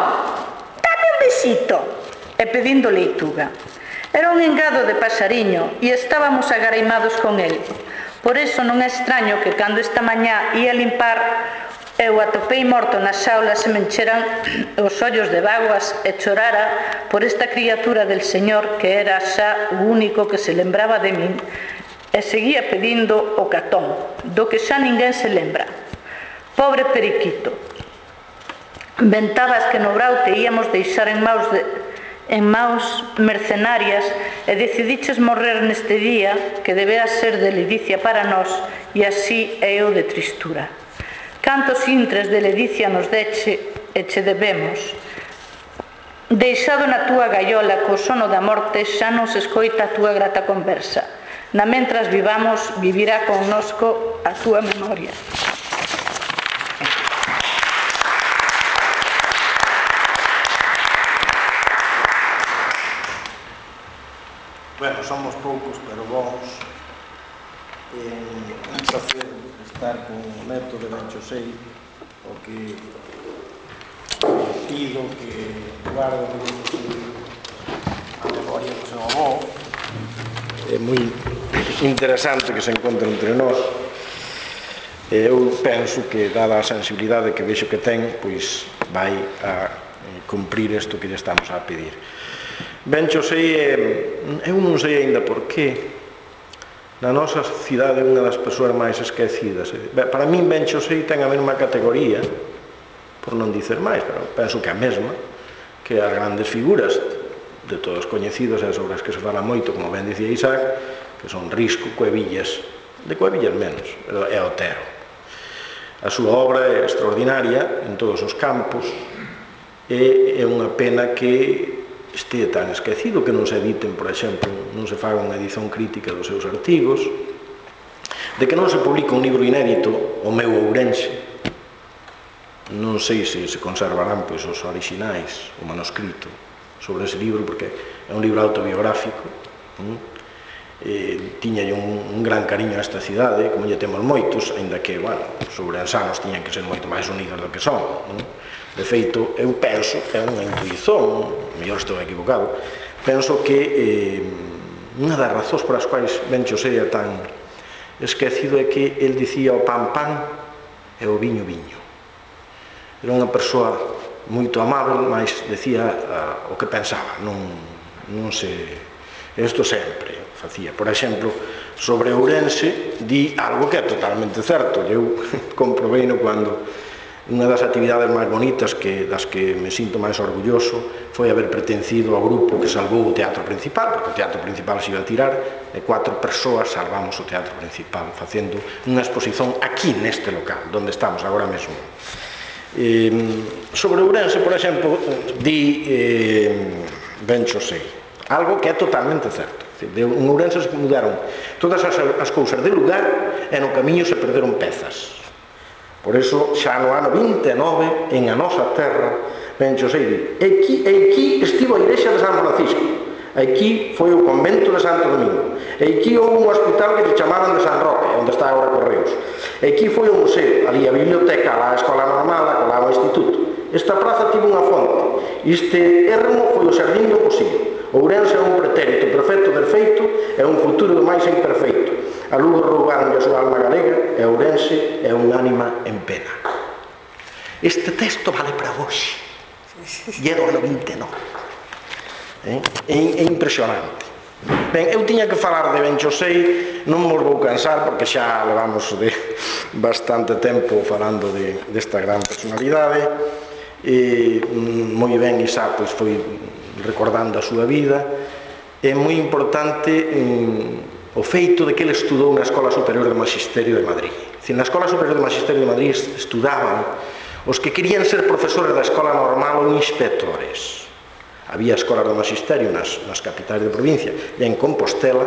dame un besito, e pedindo leituga. Era un engado de pasariño e estábamos agaraimados con el. Por eso non é extraño que cando esta mañá ia limpar eu atopei morto na xaula se me encheran os ollos de vaguas e chorara por esta criatura del Señor que era xa o único que se lembraba de min e seguía pedindo o catón, do que xa ninguén se lembra. Pobre periquito. Ventabas que no Brau te íamos deixar en maus de en maus mercenarias e decidiches morrer neste día que debera ser de ledicia para nós e así é eu de tristura. Cantos intres de ledicia nos deche e che debemos. Deixado na túa gaiola co sono da morte xa non se escoita a túa grata conversa. Na mentras vivamos, vivirá connosco a túa memoria.
Bueno, somos poucos, pero bons. Eh, un placer estar con o neto de Ben Chosei, o que pido que guardo a memoria do seu avó. É moi interesante que se encontre entre nós. Eu penso que, dada a sensibilidade que vexo que ten, pois vai a cumprir isto que lle estamos a pedir. Ben Chosei, eu non sei ainda por qué, na nosa cidade é unha das persoas máis esquecidas. Para min Ben Chosei ten a mesma categoría, por non dicer máis, pero penso que a mesma, que as grandes figuras de todos coñecidos, e sobre as que se fala moito, como ben dicía Isaac, que son Risco, Cuevillas, de Cuevillas menos, e Otero. A súa obra é extraordinaria en todos os campos, e é unha pena que este tan esquecido, que non se editen, por exemplo, non se faga unha edición crítica dos seus artigos, de que non se publica un libro inédito, O meu Ourense. Non sei se se conservarán pois os orixinais, o manuscrito sobre ese libro, porque é un libro autobiográfico, eh, tiña un, un gran cariño a esta cidade, como lle temos moitos, ainda que, bueno, os ourensanos tiñan que ser moito máis unidos do que son, non? De feito, eu penso, é unha intuición, mellor estou equivocado, penso que eh, unha das razóns por as quais Ben Chosé é tan esquecido é que el dicía o pan pan e o viño viño. Era unha persoa moito amável, mas decía uh, o que pensaba, non, non se... Isto sempre facía. Por exemplo, sobre Ourense, di algo que é totalmente certo. Eu comprobei no cando unha das actividades máis bonitas que, das que me sinto máis orgulloso foi haber pertencido ao grupo que salvou o teatro principal, porque o teatro principal se iba a tirar e cuatro persoas salvamos o teatro principal facendo unha exposición aquí neste local, onde estamos agora mesmo. Eh, sobre Ourense, por exemplo, di eh, Ben Chosé algo que é totalmente certo. De Ourense se mudaron todas as, as cousas de lugar e no camiño se perderon pezas. Por iso, xa no ano vinte e nove, en a nosa terra, Ben Chosé di, aquí, aquí estivo a igrexa de San Francisco, aquí foi o convento de Santo Domingo, aquí houve un hospital que se chamaban de San Roque, onde está agora Correos, aquí foi o museo, ali a biblioteca, a escola normal, a o instituto. Esta praza tivo unha fonte, este ermo foi o xardín do Posillo. Ourense é un pretérito perfecto del feito e un futuro do máis imperfeito. A Lugo roubaron a súa alma galega e Ourense é un ánima en pena. Este texto vale para hoxe. E é do ano vinte e nove. É, é impresionante. Ben, eu tiña que falar de Ben Chosé, non me vou cansar porque xa levamos de bastante tempo falando de, desta gran personalidade. E moi ben Isá pois, foi recordando a súa vida. É moi importante mm, o feito de que ele estudou na Escola Superior de Magisterio de Madrid. Na Escola Superior de Magisterio de Madrid estudaban os que querían ser profesores da escola normal ou inspectores. Había escolas de magisterio nas, nas capitais de provincia e en Compostela,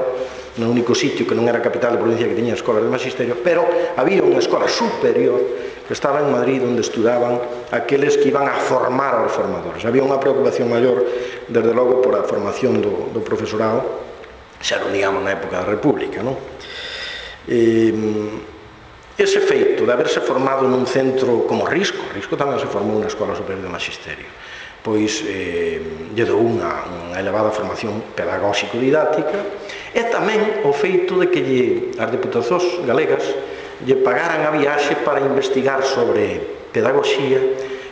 no único sitio que non era capital de provincia que tiña escolas de magisterio, pero había unha escola superior que estaba en Madrid onde estudaban aqueles que iban a formar aos formadores. Había unha preocupación maior, desde logo, por a formación do, do profesorado, xa non digamos na época da República, non? Eh, ese feito de haberse formado nun centro como Risco, Risco tamén se formou na Escola Superior de Magisterio, pois eh, lle dou unha, unha elevada formación pedagóxico-didáctica, e tamén o feito de que lle, as deputacións galegas lle pagaran a viaxe para investigar sobre pedagogía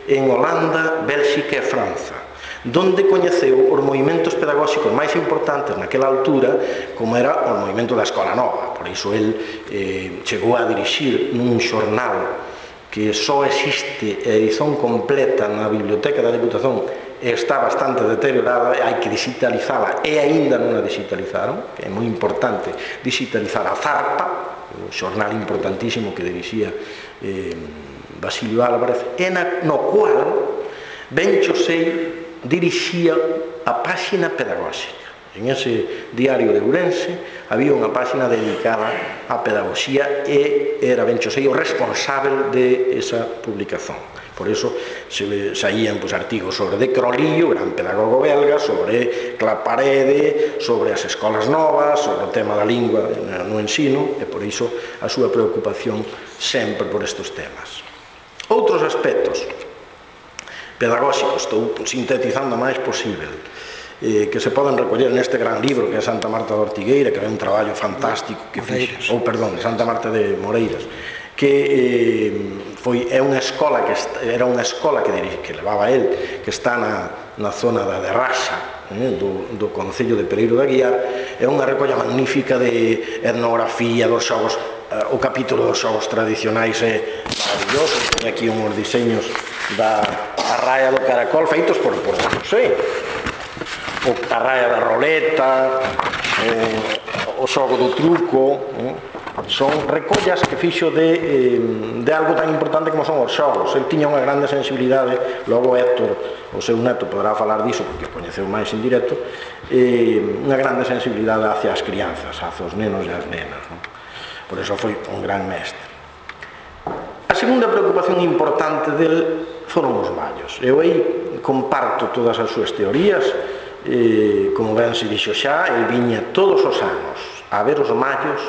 en Holanda, Bélxica e Franza, donde coñeceu os movimentos pedagóxicos máis importantes naquela altura, como era o movimento da Escola Nova. Por iso el eh, chegou a dirixir nun xornal que só existe a edición completa na biblioteca da Deputación e está bastante deteriorada, hai que digitalizala e aínda non a digitalizaron, que é moi importante digitalizar a Zarpa, o xornal importantísimo que dirixía eh, Basilio Álvarez, e na, no cual Ben Chosé dirixía a páxina pedagóxica. En ese diario de Ourense había unha páxina dedicada á pedagogía e era Ben Chosé o responsável de esa publicación. Por iso se saían pues, artigos sobre De Crolillo, gran pedagogo belga, sobre Claparede, sobre as escolas novas, sobre o tema da lingua no ensino, e por iso a súa preocupación sempre por estes temas. Outros aspectos pedagóxicos, estou sintetizando o máis posible, Eh, que se poden recoller neste gran libro que é Santa Marta de Ortigueira, que é un traballo fantástico que fixe, ou perdón, Santa Marta de Moreiras, que eh, foi é unha escola que era unha escola que, que levaba el, que está na, na zona da Derraxa, eh, do, do concello de Pereiro da Guiar. É unha recolla magnífica de etnografía dos xogos, eh, o capítulo dos xogos tradicionais é maravilloso. Tem aquí uns diseños da Arraia do Caracol feitos por, por non sei, a raia da roleta, eh, o xogo do truco, eh, son recollas que fixo de, eh, de algo tan importante como son os xogos. El tiña unha grande sensibilidade, logo Héctor, o seu neto, podrá falar diso porque o coñeceu máis en directo, eh, unha grande sensibilidade hacia as crianzas, hacia os nenos e as nenas, non? Por iso foi un gran mestre. A segunda preocupación importante del foron os mallos. Eu aí comparto todas as súas teorías. Eh, como ben se dixo xa, el viña todos os anos a ver os mallos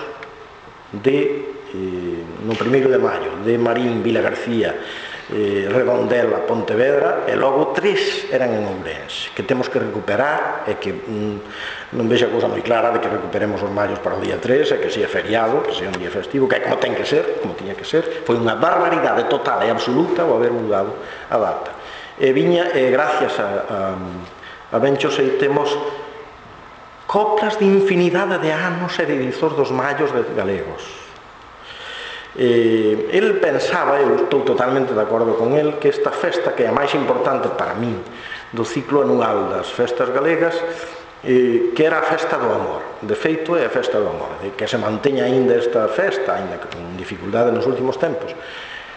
de, eh, no primeiro de maio, de Marín, Vila García, eh, Redondela, Pontevedra, e logo tres eran en Ourense, que temos que recuperar, e que mm, non vexe a cousa moi clara de que recuperemos os mallos para o día tres, e que sea feriado, que sea un día festivo, que é como ten que ser, como tiña que ser. Foi unha barbaridade total e absoluta o haber mudado a data. E viña, e gracias a, a, a Bencho Sei, temos coplas de infinidade de anos e de dizos dos mallos de galegos. Eh, el pensaba, eu estou totalmente de acordo con el, que esta festa, que é a máis importante para min do ciclo anual das festas galegas, eh, que era a festa do amor. De feito, é a festa do amor, de que se manteña aínda esta festa, aínda que con dificultade nos últimos tempos,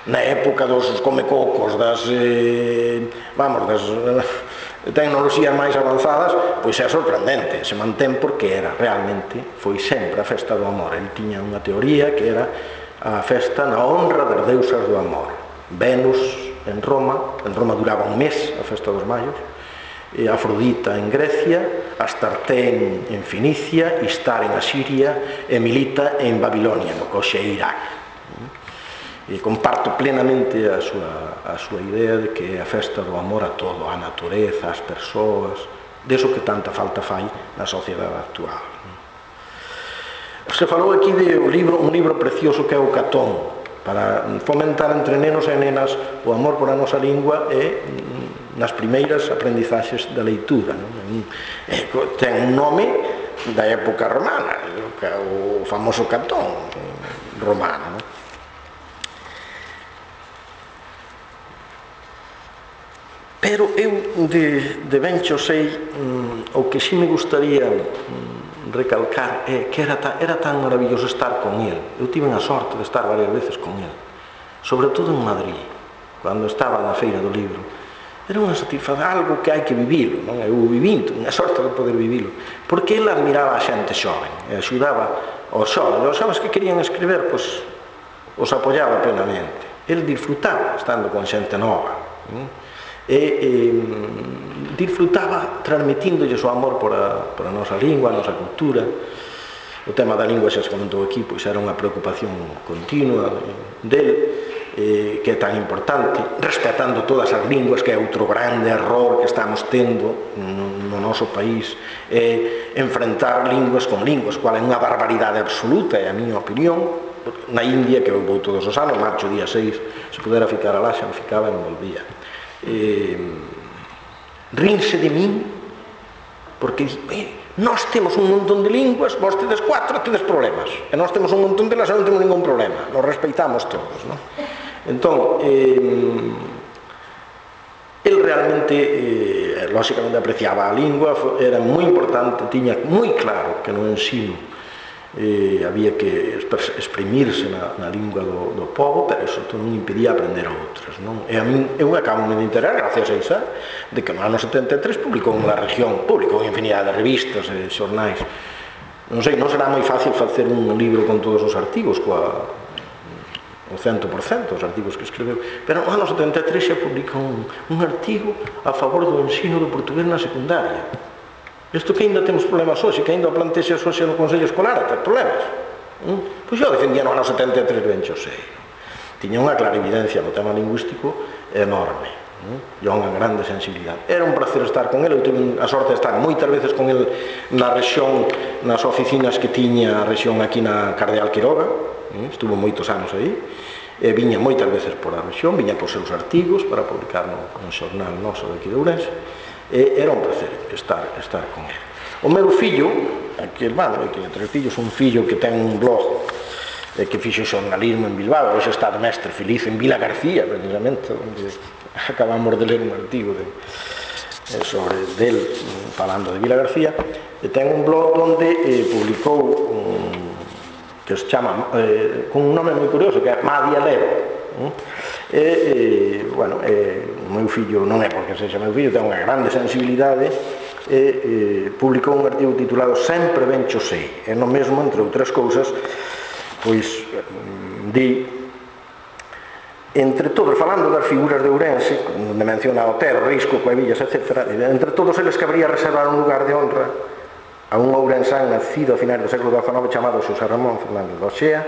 na época dos comecocos, das eh, vamos, das tecnoloxías máis avanzadas, pois é sorprendente, se mantén porque era realmente, foi sempre a festa do amor. El tiña unha teoría que era a festa na honra das deusas do amor. Venus en Roma, en Roma duraba un mes a festa dos mallos, e Afrodita en Grecia, Astarte en Finicia, Istar en Asiria e Milita en Babilonia, no que hoxe é Irak. E comparto plenamente a súa, a súa idea de que é a festa do amor a todo, a natureza, as persoas, deso que tanta falta fai na sociedade actual. Se falou aquí de un libro, un libro precioso que é o Catón, para fomentar entre nenos e nenas o amor por a nosa lingua e nas primeiras aprendizaxes da leitura. Non? Ten un nome da época romana, o famoso Catón romano. Non? Pero eu de, de Bencho Sei, mm, o que si me gustaría mm, recalcar é que era, ta, era tan maravilloso estar con el. Eu tive a sorte de estar varias veces con el, sobre todo en Madrid, cando estaba na Feira do Libro. Era unha satisfacción, algo que hai que vivilo, non? Eu vivín, unha sorte de poder vivilo, porque ele admiraba a xente xoven, e axudaba aos xoven, os xovens que querían escribir, pois, os apoiaba plenamente. Ele disfrutaba estando con xente nova, non? e, e disfrutaba transmitindolle o amor por a, por a nosa lingua, a nosa cultura. O tema da lingua, xa se comentou aquí, pois era unha preocupación continua del, eh, que é tan importante, respetando todas as linguas, que é outro grande error que estamos tendo no, no noso país, é enfrentar linguas con linguas, cual é unha barbaridade absoluta, é a miña opinión. Na India, que eu vou todos os anos, marcho día seis, se pudera ficar alá, xa me ficaba e me volvía. Eh, rinse de min porque eh, nós temos un montón de linguas, vos tedes cuatro, tedes problemas, e nós temos un montón de las e non temos ningún problema, nos respeitamos todos, non? Entón, eh, el realmente eh, lógicamente apreciaba a lingua, era moi importante, tiña moi claro que no ensino Eh, había que exprimirse na, na lingua do, do povo, pero eso non impedía aprender a outras, non? E a min, eu acabo de enterar, gracias a Isa, de que no ano setenta e tres publicou na región, publicou infinidade de revistas e xornais. Non sei, non será moi fácil facer un libro con todos os artigos, coa o cento por cento os artigos que escreveu, pero no ano setenta e tres xa publicou un, un artigo a favor do ensino do portugués na secundaria. Isto que ainda temos problemas hoxe, que ainda o plantexe hoxe no Consello Escolar, até problemas. Mm? Pois eu defendía no ano setenta e tres Bencho Sei. Tiña unha clarividencia no tema lingüístico enorme. Mm? E unha grande sensibilidade. Era un placer estar con ele, eu tive a sorte de estar moitas veces con ele na rexión, nas oficinas que tiña a rexión aquí na Cardeal Quiroga, mm? Estuvo moitos anos aí, e viña moitas veces por a rexión, viña por seus artigos para publicar no, no xornal noso de aquí de Ourense. E era un placer estar, estar con ele. O meu fillo, aquí hermano, que tres fillos, un fillo que ten un blog eh, que fixe xornalismo en Bilbao, hoxe está de mestre feliz en Vila García, precisamente, onde acabamos de ler un artigo de, eh, sobre del, falando de Vila García, e ten un blog onde eh, publicou un, que se chama eh, con un nome moi curioso, que é Madia Lero. E, e, bueno, e, o meu fillo, non é porque sexa meu fillo, ten unha grande sensibilidade, e, e publicou un artigo titulado Sempre Bencho Sei, e no mesmo, entre outras cousas, pois di, entre todos, falando das figuras de Ourense, onde menciona Otero, Risco, Coevillas, etcétera, entre todos eles cabría reservar un lugar de honra a un ourensán nacido a finais do século dezanoveno chamado Xosé Ramón Fernández de Oxea,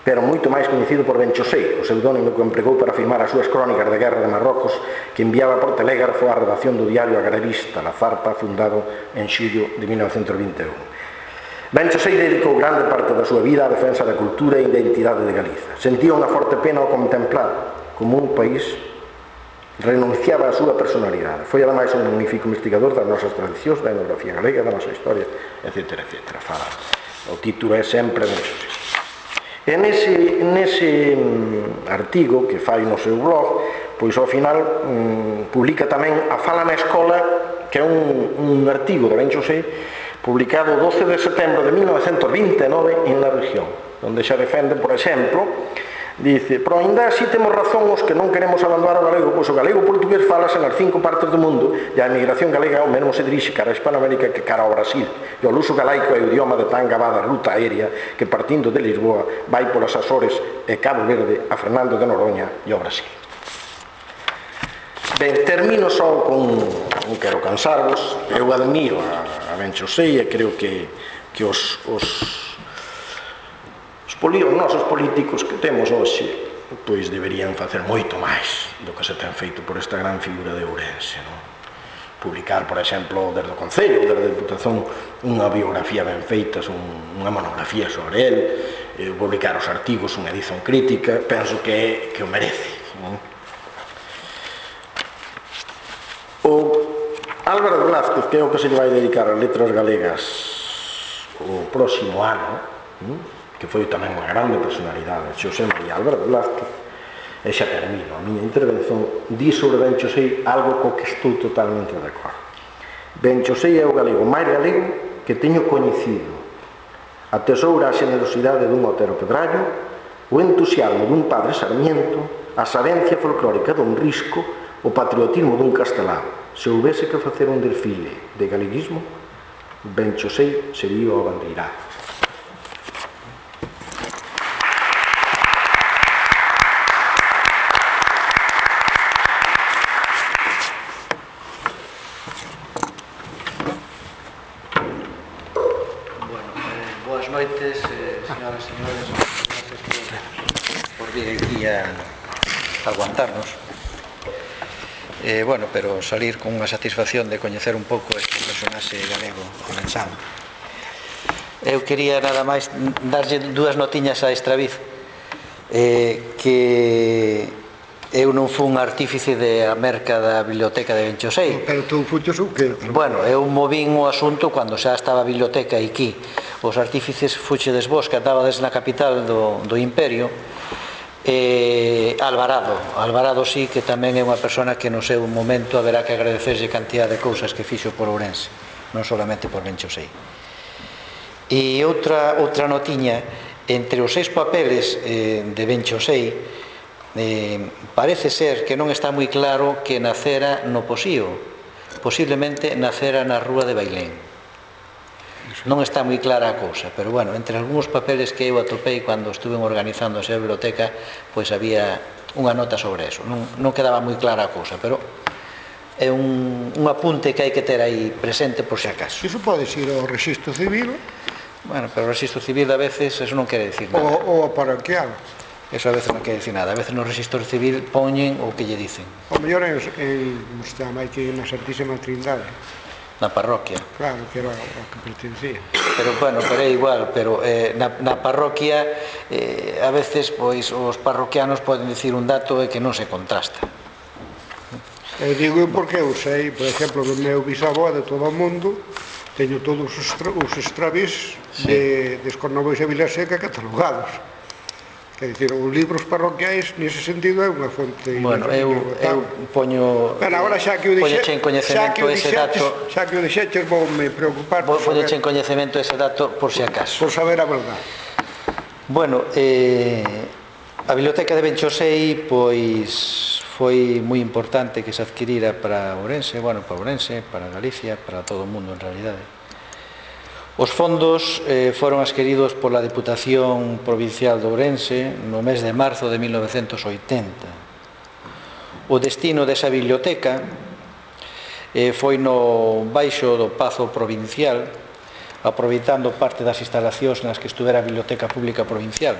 pero moito máis coñecido por Benchosei, o pseudónimo que empregou para firmar as súas crónicas de guerra de Marrocos, que enviaba por telégrafo á redacción do diario Agrarista, La Zarpa, fundado en xullo de mil novecentos vinte e un. Benchosei dedicou grande parte da súa vida á defensa da cultura e identidade de Galiza. Sentía unha forte pena ao contemplar como un país renunciaba á súa personalidade. Foi ademais un magnífico investigador das nosas tradicións, da etnografía galega, da nosa historia, etcétera, etcétera. Fala. O título é sempre Benchosei. E nese, nese artigo que fai no seu blog, pois ao final um, publica tamén A Fala na Escola, que é un, un artigo de Benchosei publicado o doce de setembro de mil novecentos vinte e nove en La Región, onde xa defende, por exemplo, dice: pero ainda así temos razón os que non queremos abandonar o galego, pois o galego portugués falase nas cinco partes do mundo e a emigración galega ao mesmo se dirixe cara a Hispanoamérica que cara ao Brasil, e o luso galaico é o idioma de tan gabada ruta aérea que partindo de Lisboa vai polas Azores e Cabo Verde a Fernando de Noronha e ao Brasil. Ben, termino só con, non quero cansarvos, eu admiro a, a Benchosei e creo que, que os, os Os nosos políticos que temos hoxe pois deberían facer moito máis do que se ten feito por esta gran figura de Ourense, non? Publicar, por exemplo, desde o Concello, desde a Deputación, unha biografía ben feita, unha monografía sobre el, eh, publicar os artigos, unha edición crítica, penso que, que o merece, non? O Álvaro Blázquez, que é o que se lle vai dedicar as letras galegas o próximo ano, non? Que foi tamén unha grande personalidade, Xosé María Álvaro Blázquez, e xa termino a miña intervención, di sobre Benchosei algo co que estou totalmente de acordo. Benchosei é o galego máis galego que teño coñecido. Atesoura a xenerosidade dun Otero Pedrallo, o entusiasmo dun Padre Sarmiento, a sabencia folclórica dun Risco, o patriotismo dun Castelao. Se houvese que facer un desfile de galeguismo, Benchosei sería o abandeirado.
Noites, eh, señoras e señores, gracias por, por vir aquí a, a aguantarnos. Eh, bueno, pero salir con unha satisfacción de coñecer un pouco este personaxe galego ourensán. Eu quería nada máis darlle dúas notiñas a Estraviz, eh, que eu non fun artífice da merca da biblioteca de Benchosei.
Pero tú fuches o que?
Bueno, eu movín o asunto cando xa estaba a biblioteca aquí. Os artífices fuchedes vos, que andabades na capital do, do imperio, e Alvarado. Alvarado sí que tamén é unha persona que no seu momento haberá que agradecerlle cantidad de cousas que fixo por Ourense, non solamente por Benchosei. E outra, outra notiña, entre os seis papeles eh, de Benchosei, eh, parece ser que non está moi claro que nacera no Posío, posiblemente nacera na rúa de Bailén. Non está moi clara a cousa, pero bueno, entre algúns papeles que eu atopei cando estuve organizando a biblioteca, pois había unha nota sobre eso. Non, non quedaba moi clara a cousa, pero é un, un apunte que hai que ter aí presente por si acaso.
Iso pode ir ao Rexistro Civil.
Bueno, pero o Rexistro Civil a veces eso non quere dicir nada.
Ou ao parroquial.
Eso a veces non quere dicir nada. A veces no Rexistro Civil poñen o que lle dicen.
O mellor é máis que na Santísima Trindade.
Na parroquia.
Claro, que era o que pertencía.
Pero, bueno, pero é igual, pero eh, na, na parroquia eh, a veces, pois, os parroquianos poden dicir un dato e que non se contrasta.
Eu digo porque eu sei, por exemplo, do meu bisavó de todo o mundo, teño todos os, os extravis sí. de, de Escornovos e Vilaseca catalogados. Quer dizer, os libros parroquiais, nese sentido, é unha fonte...
Bueno, eu, eu poño...
Pero agora xa que o
dixeche en coñecemento ese dato...
Xa que o dixeches, vou me preocupar...
Vou poñeche en coñecemento ese dato por si acaso.
Por saber a verdade.
Bueno, eh, a biblioteca de Benchosei, pois, foi moi importante que se adquirira para Ourense, bueno, para Ourense, para Galicia, para todo o mundo, en realidade. Os fondos eh, foron adquiridos pola Deputación Provincial de Ourense no mes de marzo de mil novecentos oitenta. O destino desa biblioteca eh, foi no baixo do Pazo Provincial, aproveitando parte das instalacións nas que estuvera a Biblioteca Pública Provincial.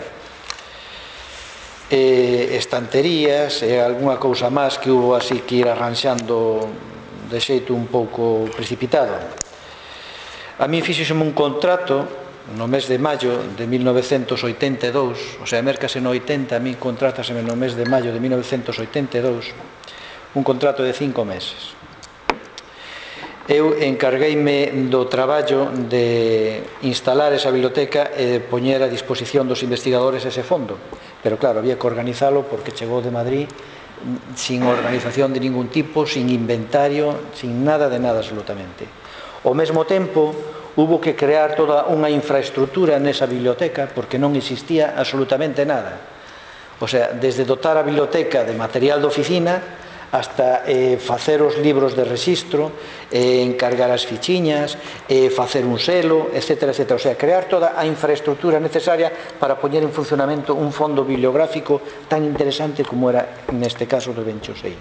E estanterías e algunha cousa máis que hubo así que ir arranxando de xeito un pouco precipitado. A mí fixíxeme un contrato no mes de maio de mil novecentos oitenta e dous, o sea, mercase no oitenta, a mí contrátaseme no mes de maio de mil novecentos oitenta e dous, un contrato de cinco meses. Eu encargueime do traballo de instalar esa biblioteca e de poñer a disposición dos investigadores ese fondo, pero claro, había que organizalo porque chegou de Madrid sin organización de ningún tipo, sin inventario, sin nada de nada absolutamente. Ao mesmo tempo, hubo que crear toda unha infraestructura nesa biblioteca porque non existía absolutamente nada. O sea, desde dotar a biblioteca de material de oficina hasta eh, facer os libros de rexistro, eh, encargar as fichiñas, eh, facer un selo, etcétera, etcétera. O sea, crear toda a infraestructura necesaria para poñer en funcionamento un fondo bibliográfico tan interesante como era neste caso do Benchosei.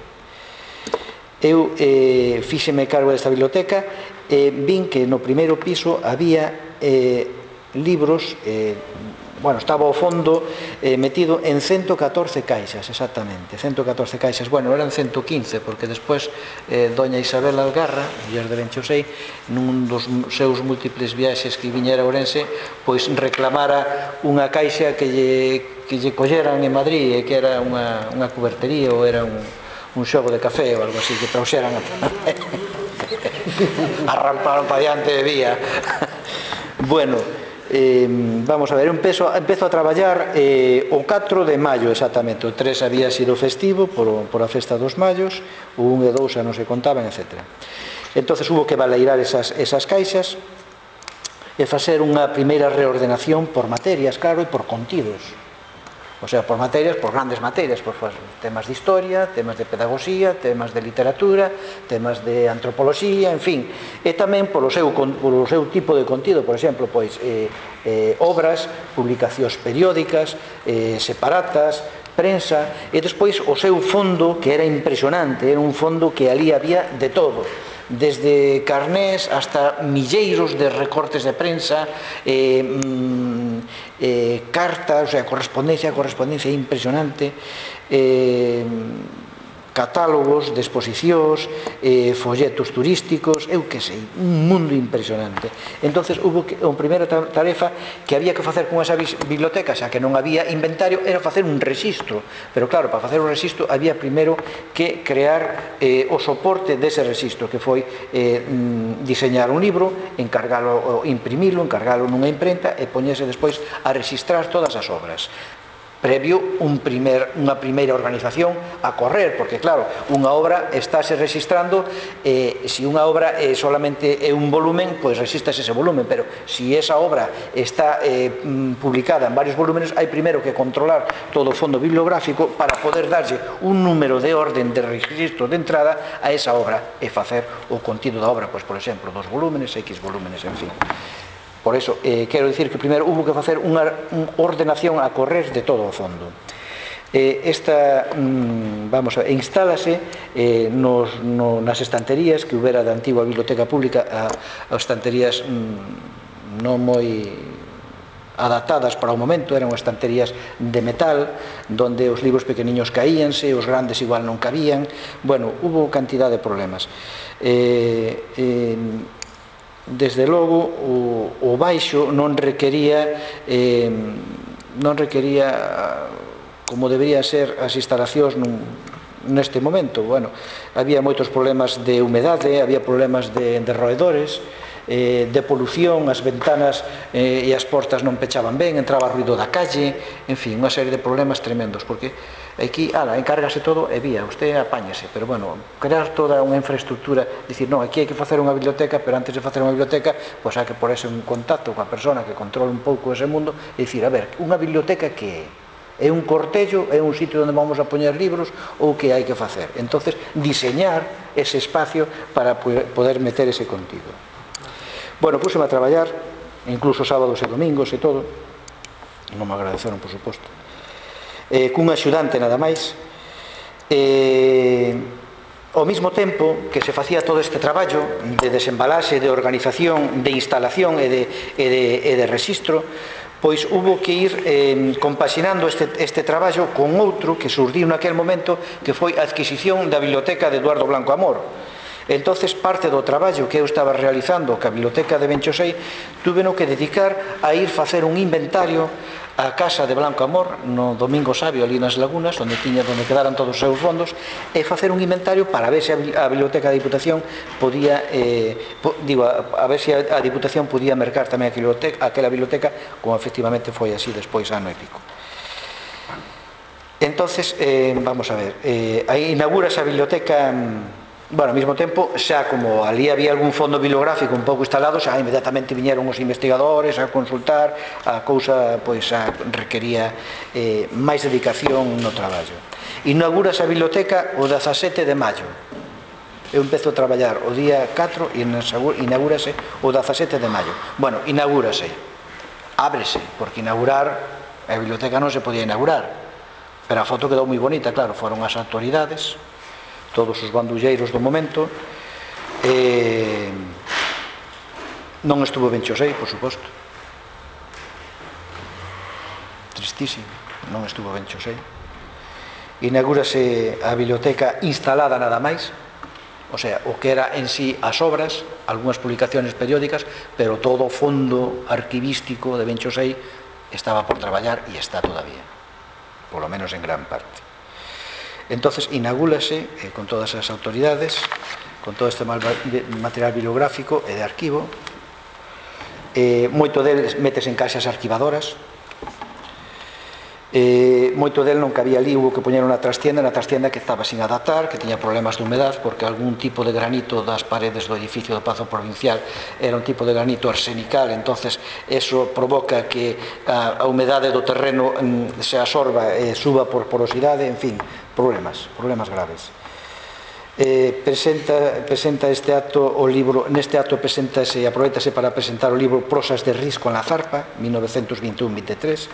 Eu eh, fíxeme cargo desta biblioteca e eh, vin que no primeiro piso había eh, libros, eh, bueno, estaba ao fondo eh, metido en ciento catorce caixas, exactamente, ciento catorce caixas, bueno, eran ciento quince, porque despois eh, doña Isabel Algarra, muller de Benchosei, nun dos seus múltiples viaxes que viñera a Ourense, pois reclamara unha caixa que lle, que lle colleran en Madrid, e que era unha, unha cubertería ou era un un xogo de café ou algo así, que trouxeran a arramparon para diante de vía. Bueno, eh, vamos a ver, eu empezo, empezo a traballar eh, o catro de maio exactamente, o tres había sido festivo por, por a festa dos mayos, o un e dous xa non se contaban, etcétera. Entonces hubo que baleirar esas, esas caixas e facer unha primeira reordenación por materias, claro, e por contidos. O sea, por materias, por grandes materias, por temas de historia, temas de pedagogía, temas de literatura, temas de antropoloxía, en fin. E tamén polo seu, polo seu tipo de contido, por exemplo, pois, eh, eh, obras, publicacións periódicas, eh, separatas, prensa, e despois o seu fondo, que era impresionante, era un fondo que ali había de todo, desde carnés hasta milleiros de recortes de prensa, eh, mm, eh, cartas, o sea, correspondencia, correspondencia impresionante, eh, catálogos de exposicións, eh, folletos turísticos, eu que sei, un mundo impresionante. Entonces, hubo que, a primeira tarefa que había que facer con esa biblioteca, xa que non había inventario, era facer un rexistro. Pero claro, para facer un rexistro había primeiro que crear eh, o soporte dese rexistro, que foi eh, diseñar un libro, encargalo, imprimilo, encargalo nunha imprenta e poñerse despois a rexistrar todas as obras. Previo un primer, unha primeira organización a correr, porque claro, unha obra estáse registrando, eh, se unha obra eh, solamente é un volumen, pois resistas ese volumen, pero se esa obra está eh, publicada en varios volúmenes, hai primeiro que controlar todo o fondo bibliográfico para poder darlle un número de orden de registro de entrada a esa obra e facer o contido da obra, pois por exemplo, dos volúmenes, X volúmenes, en fin. Por eso, eh, quero dicir que primeiro hubo que facer unha ordenación a correr de todo o fondo. Eh, esta, mm, vamos a ver, instálase eh, nos, no, nas estanterías que houbera da antigua biblioteca pública, a, a estanterías mm, non moi adaptadas para o momento, eran estanterías de metal, donde os libros pequeniños caíanse, os grandes igual non cabían, bueno, hubo cantidad de problemas. Eh, eh, Desde logo, o, o baixo non requería, eh, non requería como deberían ser as instalacións nun, neste momento. Bueno, había moitos problemas de humedade, había problemas de, de roedores, eh, de polución, as ventanas eh, e as portas non pechaban ben, entraba ruido da calle, en fin, unha serie de problemas tremendos, porque aquí, ala, encárgase todo e vía, usted apáñese, pero bueno, crear toda unha infraestructura, dicir, non, aquí hai que facer unha biblioteca, pero antes de facer unha biblioteca, pois hai que ponerse un contacto coa persona que controla un pouco ese mundo e dicir, a ver, unha biblioteca que é? É un cortello, é un sitio onde vamos a poñer libros ou que hai que facer? Entonces, diseñar ese espacio para poder meter ese contido. Bueno, púseme a traballar, incluso sábados e domingos e todo, non me agradeceron, por suposto, eh, cun axudante nada máis. Eh, ao mesmo tempo que se facía todo este traballo de desembalaxe, de organización, de instalación e de, e de, e de registro, pois hubo que ir eh, compaxinando este, este traballo con outro que surdiu naquel momento, que foi a adquisición da biblioteca de Eduardo Blanco Amor. Entonces, parte do traballo que eu estaba realizando ca biblioteca de Benchosei, tuveno que dedicar a ir facer un inventario a casa de Blanco Amor, no Domingo Sabio, ali nas Lagunas, onde tiña, onde quedaran todos os seus fondos, e facer un inventario para ver se a biblioteca da Diputación podía, eh, po, digo, a, a ver se a, a Diputación podía mercar tamén aquela biblioteca, como efectivamente foi así despois ano e pico. Entonces, eh, vamos a ver, eh, aí inaugura esa biblioteca. Bueno, ao mesmo tempo, xa como ali había algún fondo bibliográfico un pouco instalado, xa inmediatamente viñeron os investigadores a consultar, a cousa pois a requería eh, máis dedicación no traballo. Inaugura esa biblioteca o dezasete de maio. Eu empezo a traballar o día catro e inaugúrase o dezasete de maio. Bueno, inaugúrase, ábrese, porque inaugurar a biblioteca non se podía inaugurar, pero a foto quedou moi bonita, claro, foron as autoridades, todos os bandulleiros do momento. eh, non estuvo Benchosei, por suposto, tristísimo, non estuvo Benchosei. Inaugúrase a biblioteca instalada nada máis, o sea, o que era en sí as obras, algunhas publicaciones periódicas, pero todo o fondo arquivístico de Benchosei estaba por traballar e está todavía, polo menos en gran parte. Entonces inaugúrase eh, con todas as autoridades, con todo este material bibliográfico e de arquivo. eh, moito deles metes en caixas arquivadoras. eh, moito del non cabía ali, hubo que poñer unha trastienda, na trastienda que estaba sin adaptar, que tiña problemas de humedad, porque algún tipo de granito das paredes do edificio do Pazo Provincial era un tipo de granito arsenical, entonces eso provoca que a, a humedade do terreno mm, se absorba e suba por porosidade, en fin, problemas, problemas graves. Eh, presenta, presenta este acto o libro, neste acto presentase, aproveitase para presentar o libro Prosas de Risco en la Zarpa, mil novecientos veintiún veintitrés.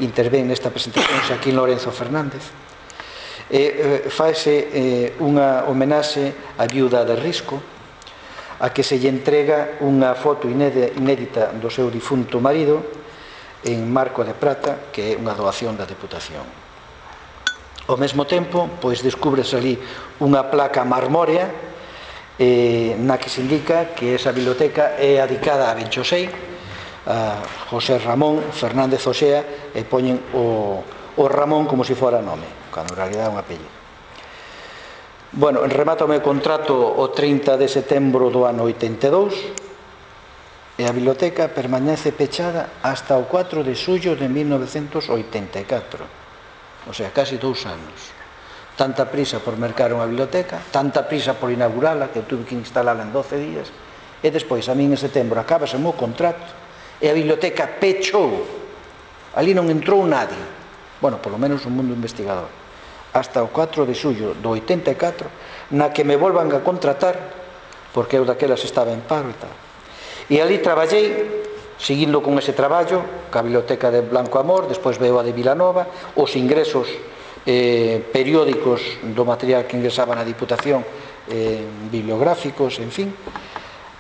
Intervén nesta presentación Xaquín Lorenzo Fernández. Eh, eh, faese eh, unha homenaxe á viuda de Risco, a que se lle entrega unha foto inédita do seu difunto marido en marco de prata, que é unha doación da Deputación. Ao mesmo tempo, pois descúbrese ali unha placa marmórea eh, na que se indica que esa biblioteca é adicada a Benchosei, a José Ramón Fernández Oxea, e poñen o, o Ramón como se fora nome, cando en realidad é un apellido. Bueno, remata o meu contrato o trinta de setembro do ano oitenta e dous e a biblioteca permanece pechada hasta o cuatro de xullo de mil novecientos oitenta e catro, o sea, casi dous anos. Tanta prisa por mercar unha biblioteca, tanta prisa por inaugurala, que eu tuve que instalala en doce días, e despois, a min en setembro, acabase o meu contrato, e a biblioteca pechou, ali non entrou nadie, bueno, polo menos o mundo investigador, hasta o cuatro de xullo do oitenta e catro, na que me volvan a contratar, porque eu daquelas estaba en paro e tal. E ali traballei, seguindo con ese traballo, ca biblioteca de Blanco Amor, despois veo a de Vilanova, os ingresos eh, periódicos do material que ingresaba na Diputación, eh, bibliográficos, en fin,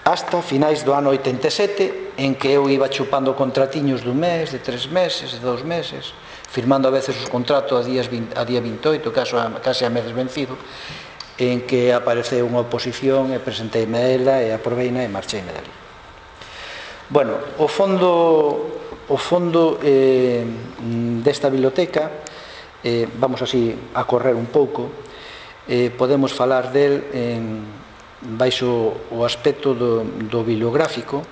hasta finais do ano oitenta e sete, en que eu iba chupando contratiños dun mes, de tres meses, de dos meses, firmando a veces os contratos a, días veinte, a día veintioito, caso a, case a meses vencido, en que apareceu unha oposición e presenteime a ela e aproveina e marcheime dali. Bueno, o fondo, o fondo eh, desta biblioteca, eh, vamos así a correr un pouco, eh, podemos falar del en baixo o aspecto do, do bibliográfico,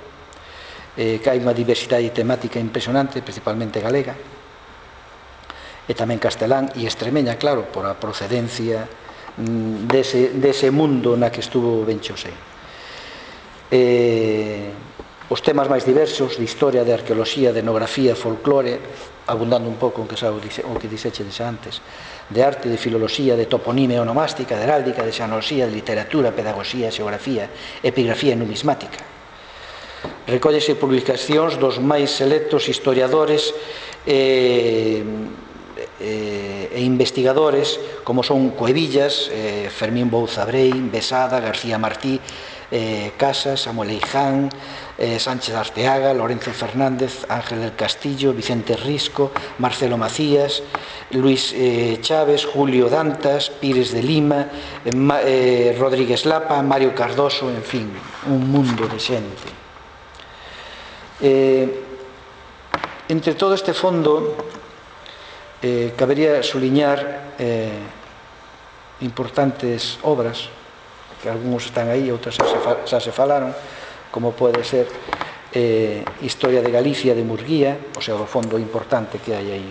eh, que hai unha diversidade temática impresionante, principalmente galega, e tamén castelán e extremeña, claro, por a procedencia mm, dese, dese mundo na que estuvo Benchosei. Eh, os temas máis diversos, de historia, de arqueoloxía, de etnografía, folclore, abundando un pouco en que xa o, o que dixeches antes, de arte, de filoloxía, de toponimia onomástica, de heráldica, de xenoloxía, de literatura, pedagogía, xeografía, epigrafía e numismática. Recóllese publicacións dos máis selectos historiadores e, e, e e investigadores como son Cuevillas, eh, Fermín Bouzabrei, Besada, García Martí, eh, Casas, Samuel Eiján, eh, Sánchez Arteaga, Lorenzo Fernández, Ángel del Castillo, Vicente Risco, Marcelo Macías, Luis eh, Chávez, Julio Dantas, Pires de Lima, eh, Ma, eh, Rodríguez Lapa, Mario Cardoso, en fin, un mundo de xente. Eh, entre todo este fondo eh, cabería suliñar eh, importantes obras que algúns están aí, outras xa se, xa se falaron, como pode ser eh, Historia de Galicia de Murguía, o sea, o fondo importante que hai aí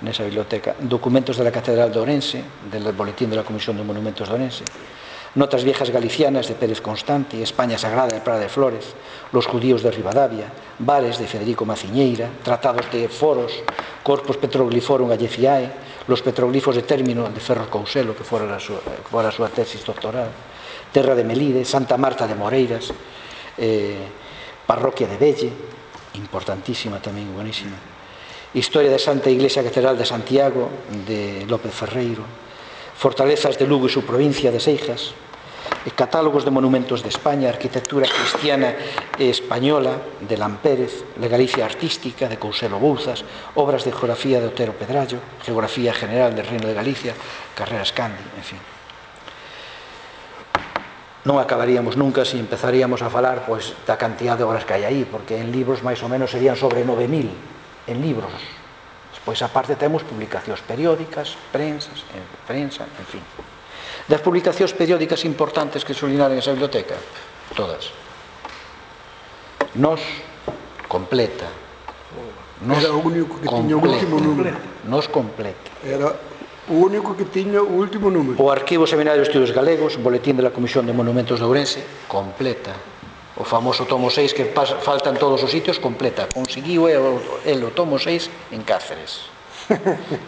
nesa biblioteca, documentos de la Catedral de Orense, del Boletín de la Comisión de Monumentos de Orense, Notas viejas galicianas de Pérez Constante, España Sagrada de Prada de Flores, Los judíos de Ribadavia, Bares de Federico Maciñeira, Tratados de Foros, Corpus Petrogliforum Alleciae, Los petroglifos de término de Ferro Couselo, que fora a súa, que fora a súa tesis doctoral, Terra de Melide, Santa Marta de Moreiras, eh, Parroquia de Velle, importantísima tamén, buenísima, Historia de Santa Iglesia Catedral de Santiago, de López Ferreiro, Fortalezas de Lugo e su provincia de Seijas, Catálogos de monumentos de España, Arquitectura cristiana e española, de Lampérez, La Galicia artística, de Couselo Bouzas, Obras de geografía de Otero Pedrallo, Geografía general del Reino de Galicia, Carreras Candi, en fin. Non acabaríamos nunca se empezaríamos a falar pois, da cantidad de obras que hai aí, porque en libros máis ou menos serían sobre nove mil en libros. Despois, aparte, temos publicacións periódicas, prensas, en prensa, en fin. Das publicacións periódicas importantes que subliñaron esa biblioteca, todas. Nos completa. Nos
Era o único que tiña o último número.
Nos completa.
Era o único que tiña o último número.
O Arquivo Seminario de Estudios Galegos, Boletín de la Comisión de Monumentos de Ourense, completa. O famoso tomo seis que faltan todos os sitios, completa. Conseguiu el o tomo seis en Cáceres.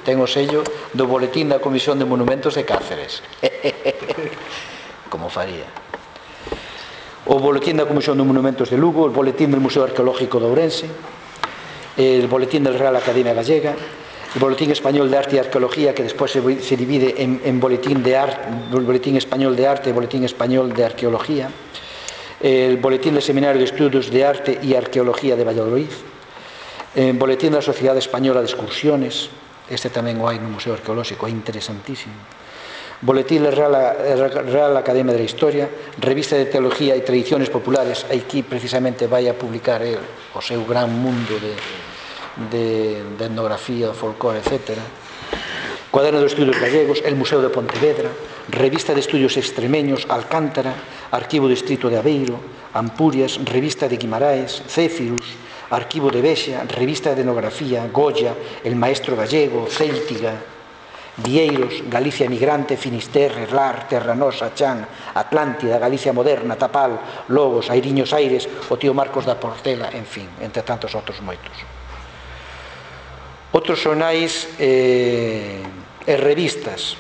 Ten o sello do Boletín da Comisión de Monumentos de Cáceres. Como faría. O Boletín da Comisión de Monumentos de Lugo, o Boletín del Museo Arqueológico de Ourense, el Boletín del Real Academia Gallega, el Boletín Español de Arte y Arqueología, que despois se, se divide en, en Boletín, de Arte, Boletín Español de Arte e Boletín Español de Arqueología, el Boletín del Seminario de Estudios de Arte y Arqueología de Valladolid, el Boletín de la Sociedad Española de Excursiones, este tamén o hai no Museo Arqueolóxico, é interesantísimo, Boletín de la Real, Real Academia de la Historia, Revista de Teología e Tradiciones Populares, aquí precisamente vai a publicar el, o seu gran mundo de, de, de etnografía, folclore, etcétera, Cuaderno de Estudios Gallegos, el Museo de Pontevedra, Revista de Estudios Extremeños, Alcántara, Arquivo Distrito de Aveiro, Ampurias, Revista de Guimaraes, Céfirus, Arquivo de Vexa, Revista de Etnografía, Goya, El Maestro Gallego, Céltiga, Vieiros, Galicia Emigrante, Finisterre, Lar, Terra Nosa, Chan, Atlántida, Galicia Moderna, Tapal, Lobos, Airiños Aires, o tío Marcos da Portela, en fin, entre tantos outros moitos. Outros xornais eh, e revistas,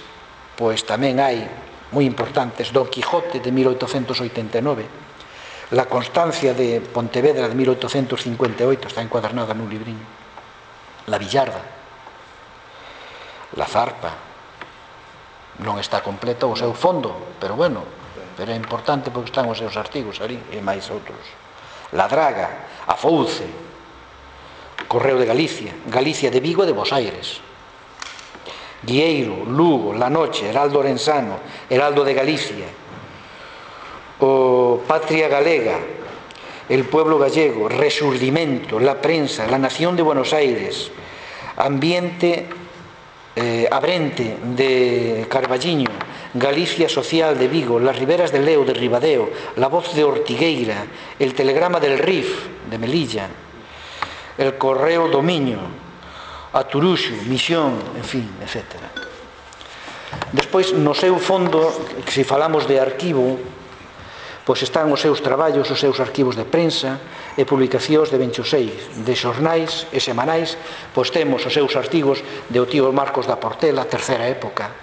pois tamén hai moi importantes, Don Quijote de mil oitocentos oitenta e nove, La Constancia de Pontevedra de mil oitocentos cincuenta e oito, está encuadernada nun libriño, La Villarda, La Zarpa, non está completo o seu fondo, pero bueno, pero é importante porque están os seus artigos ali, e máis outros. La Draga, A Fouce, Correo de Galicia, Galicia de Vigo e de Bos Aires, Guieiro, Lugo, La Noche, Heraldo Orensano, Heraldo de Galicia, o Patria Galega, El Pueblo Gallego, Resurdimento, La Prensa, La Nación de Buenos Aires, Ambiente eh, Abrente de Carballiño, Galicia Social de Vigo, Las Riberas del Leo de Ribadeo, La Voz de Ortigueira, El Telegrama del Rif de Melilla, El Correo do Miño, A Turuxo, Misión, en fin, etcétera. Despois, no seu fondo, se falamos de arquivo, pois están os seus traballos, os seus arquivos de prensa e publicacións de veintiséis, de xornais e semanais, pois temos os seus artigos de o tío Marcos da Portela, terceira época,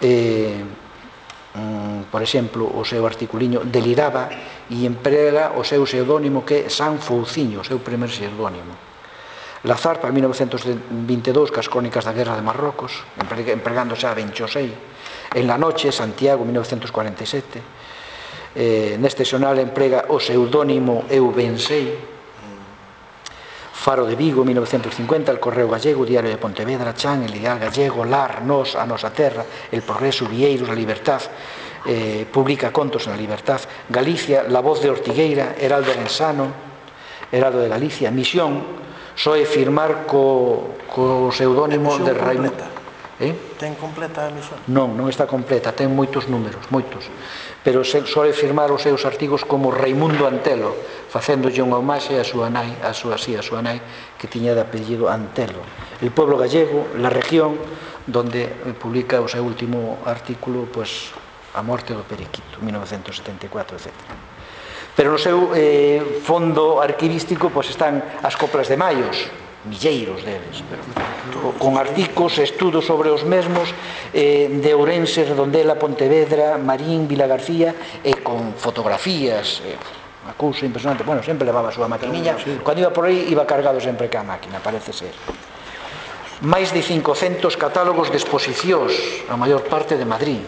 eh, mm, por exemplo, o seu articuliño Deliraba e emprega o seu pseudónimo que é San Fouciño, o seu primer pseudónimo. Lazar, para mil novecientos vinte e dous, cas crónicas da Guerra de Marrocos, empregando xa Benchosei. En la noche, Santiago, mil novecientos cuarenta e sete. Eh, neste xornal emprega o pseudónimo Eu Bensei. Faro de Vigo, mil novecientos cincuenta, El Correo Gallego, Diario de Pontevedra, Chan, El Ideal Gallego, Lar, Nos, A Nosa Terra, El Progreso, Vieiros, La Libertad, eh, publica contos en La Libertad, Galicia, La Voz de Ortigueira, Heraldo Rensano, Heraldo de Galicia, Misión, soe firmar co, co pseudónimo de Raimundo. Eh?
Ten completa a emisión?
Non, non está completa, ten moitos números, moitos. Pero soe firmar os seus artigos como Raimundo Antelo, facéndolle unha homaxe a súa nai, a súa, sí, a súa nai, que tiña de apellido Antelo. El Pueblo Gallego, La Región, donde publica o seu último artículo, pues, A Morte do Periquito, mil novecientos setenta e catro, etcétera. Pero no seu eh, fondo arquivístico pues, están as coplas de Maios, milleiros deles, pero, con artigos, estudos sobre os mesmos eh, de Ourense, Redondela, Pontevedra, Marín, Vilagarcía, e con fotografías, eh, unha cousa impresionante. Bueno, sempre levaba a súa maquiniña, cando iba por aí iba cargado sempre ca máquina, parece ser. Máis de cincocentos catálogos de exposicións, a maior parte de Madrid,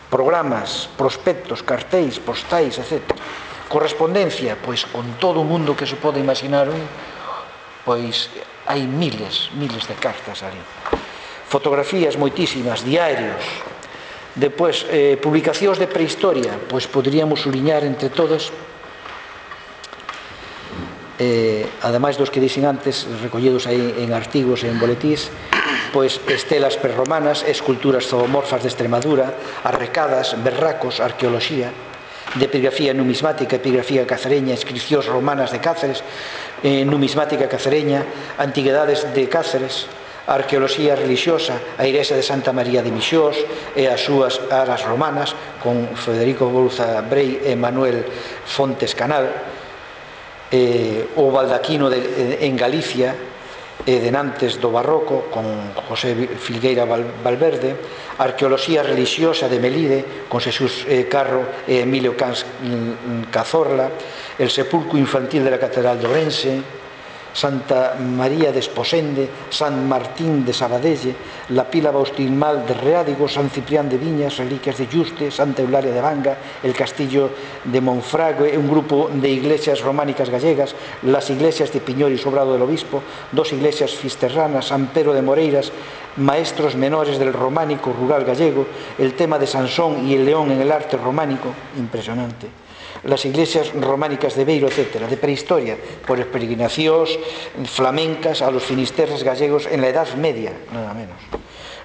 programas, prospectos, cartéis, postais, etcétera. Correspondencia, pois con todo o mundo que se pode imaginar un, pois hai miles, miles de cartas ali. Fotografías moitísimas, diarios. Depois, eh, publicacións de prehistoria, pois poderíamos suliñar entre todas, eh, ademais dos que dixen antes, recollidos aí en artigos e en boletís, pois estelas prerromanas, esculturas zoomorfas de Extremadura, arrecadas, berracos, arqueoloxía, de epigrafía numismática, epigrafía cacereña, inscripcións romanas de Cáceres, eh, numismática cacereña, antigüedades de Cáceres, arqueoloxía religiosa, a igrexa de Santa María de Mixós e as súas aras romanas, con Federico Bouza Brei e Manuel Fontes Canal, eh, o baldaquino de, en Galicia, e de Nantes do Barroco, con José Filgueira Valverde, arqueoloxía religiosa de Melide, con Xesús Carro e Emilio Cans Cazorla, el sepulcro infantil de la Catedral de Ourense, Santa María de Esposende, San Martín de Sabadelle, la pila bautismal de Reádigo, San Ciprián de Viñas, reliquias de Yuste, Santa Eulalia de Banga, el castillo de Monfragüe, un grupo de iglesias románicas gallegas, las iglesias de Piñor y Sobrado del Obispo, dos iglesias fisterranas, San Pedro de Moreiras, maestros menores del románico rural gallego, el tema de Sansón y el león en el arte románico, impresionante. Las iglesias románicas de Beiro, etcétera, de prehistoria, por peregrinacións flamencas a los finisterres gallegos en la Edad Media, nada menos.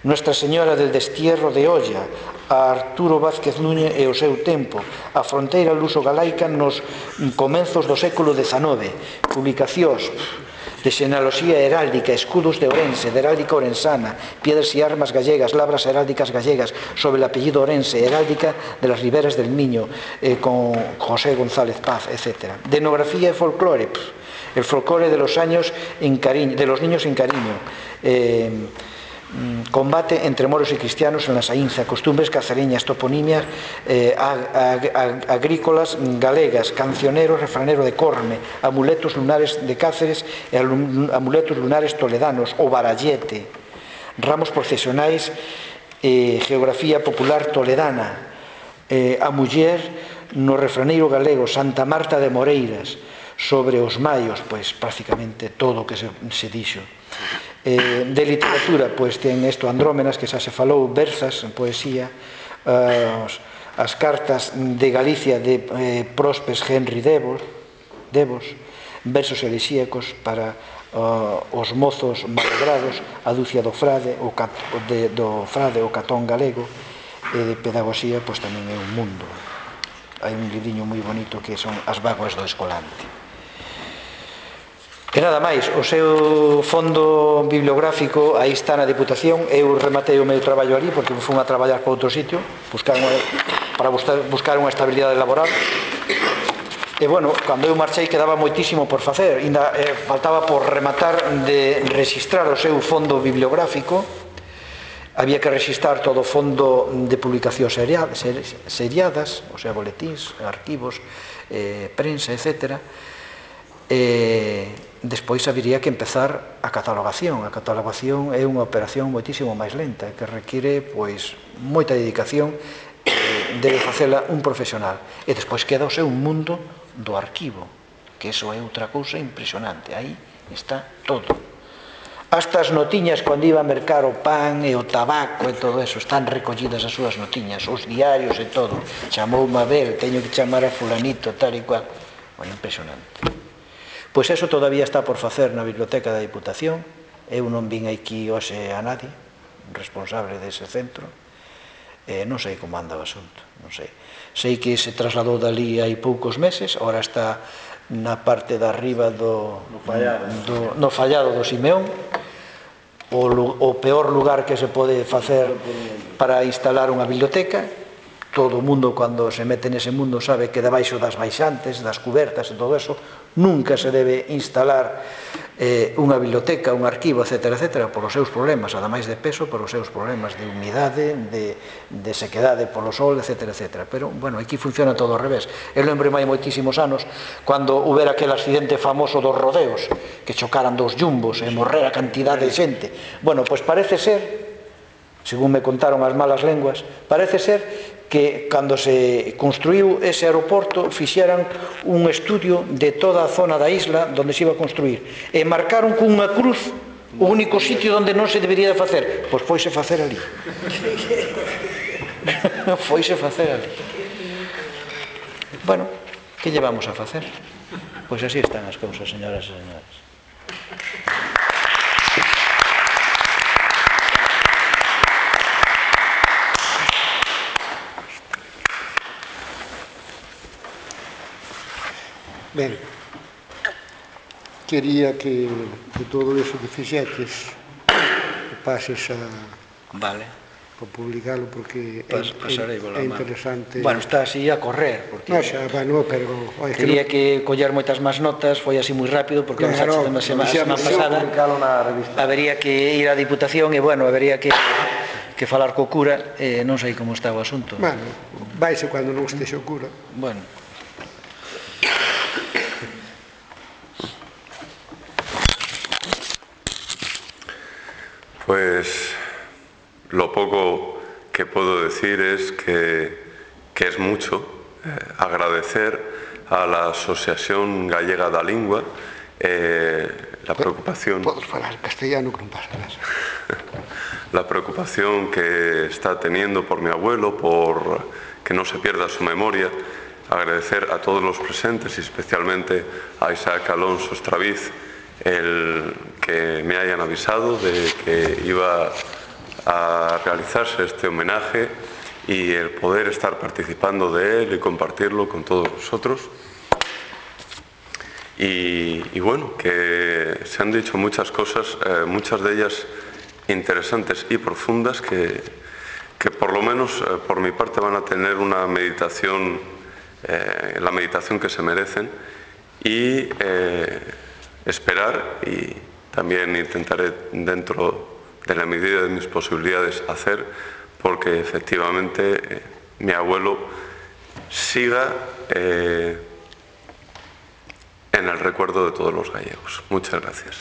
Nuestra Señora del Destierro de Olla, a Arturo Vázquez Núñez e o seu tempo, a fronteira luso-galaica nos comenzos do século dezanove, publicacións de xenealoxía heráldica, escudos de Ourense, de heráldica orensana, piedras e armas gallegas, labras heráldicas gallegas sobre el apellido Ourense, heráldica de las riberas del Miño, eh, con José González Paz, etcétera. De etnografía e folclore, pff, el folclore de los, años en cariño, de los niños en cariño, eh, combate entre moros y cristianos en la Saínza, costumbres cacereñas, toponimias eh, ag ag agrícolas galegas, cancionero, refranero de Corme, amuletos lunares de Cáceres e amuletos lunares toledanos, o barallete, ramos procesionais, eh, geografía popular toledana, eh, a muller no refraneiro galego, Santa Marta de Moreiras, sobre os maios, pois prácticamente todo o que se, se dixo. Eh, de literatura, pois ten isto Andrómenas, que xa se falou, versas, poesía, uh, as cartas de Galicia de eh, Prospes Henry Devos, Devos, versos elixíacos para uh, os mozos malogrados, a Ducia do Frade, o, cat, de, do Frade, o Catón galego, e de pedagogía, pois tamén é un mundo. Hai un libriño moi bonito que son As vaguas do Escolante. E nada máis, o seu fondo bibliográfico aí está na Diputación. Eu rematei o meu traballo ali porque fui a traballar para outro sitio, buscar unha, para buscar unha estabilidade laboral. E bueno, cando eu marchei quedaba moitísimo por facer, ainda eh, faltaba por rematar de registrar o seu fondo bibliográfico. Había que registrar todo o fondo de publicacións seriadas, o sea, boletíns, arquivos, eh, prensa, etcétera. E despois habería que empezar a catalogación. A catalogación é unha operación moitísimo máis lenta, que require pois moita dedicación, debe facela un profesional. E despois queda o seu mundo do arquivo, que iso é outra cousa impresionante. Aí está todo. Hasta as notiñas, cando iba a mercar o pan e o tabaco e todo eso, están recollidas as súas notiñas, os diarios e todo. Chamou Mabel, teño que chamar a fulanito, tal e cual. Bueno, impresionante. Pois eso todavía está por facer na Biblioteca da Diputación. Eu non vin aquí hoxe a nadie, responsable dese centro. Eh, non sei como anda o asunto, non sei. Sei que se trasladou dali hai poucos meses, ora está na parte de arriba do, do, no fallado do Simeón, o, o peor lugar que se pode facer para instalar unha biblioteca. Todo o mundo, cando se mete nese mundo, sabe que debaixo das baixantes, das cubertas e todo eso, nunca se debe instalar eh, unha biblioteca, un arquivo, etcétera, etcétera, polos seus problemas, ademais de peso, polos seus problemas de humidade, de, de sequedade polo sol, etcétera, etcétera. Pero, bueno, aquí funciona todo ao revés. Eu lembro hai moitísimos anos, cando houbera aquel accidente famoso dos rodeos, que chocaran dos jumbos e morrer a cantidade de xente. Bueno, pois parece ser, según me contaron as malas lenguas, parece ser que cando se construiu ese aeroporto fixeran un estudio de toda a zona da isla onde se iba a construir e marcaron con unha cruz o único sitio onde non se debería de facer. Pois foise facer ali. Foise facer ali. Bueno, que llevamos a facer? Pois así están as cousas, señoras e señores.
Ben, quería que de todo iso que fixetes que pases a,
vale,
a publicalo porque
Pas,
é, é, é interesante.
Bueno, está así a correr porque
no, xa, bueno, pero oye,
teria que, no... que coller moitas máis notas, foi así moi rápido porque claro, a semana, semana pasada habería que ir á Diputación e bueno, habería que que falar co cura, eh, non sei como está o asunto.
Bueno, vaise cando non estexe o cura.
Bueno.
Pues lo poco que puedo decir es que, que es mucho. Eh, agradecer a la Asociación Gallega da Lingua eh, la preocupación...
Podes falar castellano que non pasa nada.
La preocupación que está teniendo por mi abuelo, por que no se pierda su memoria. Agradecer a todos los presentes y especialmente a Isaac Alonso Estraviz el que me hayan avisado de que iba a realizarse este homenaje y el poder estar participando de él y compartirlo con todos vosotros. Y, y bueno, que se han dicho muchas cosas, eh, muchas de ellas interesantes y profundas que, que por lo menos eh, por mi parte van a tener una meditación, eh, la meditación que se merecen y eh, esperar y también intentaré dentro de la medida de mis posibilidades hacer porque efectivamente eh, mi abuelo siga eh, en el recuerdo de todos los gallegos. Muchas gracias.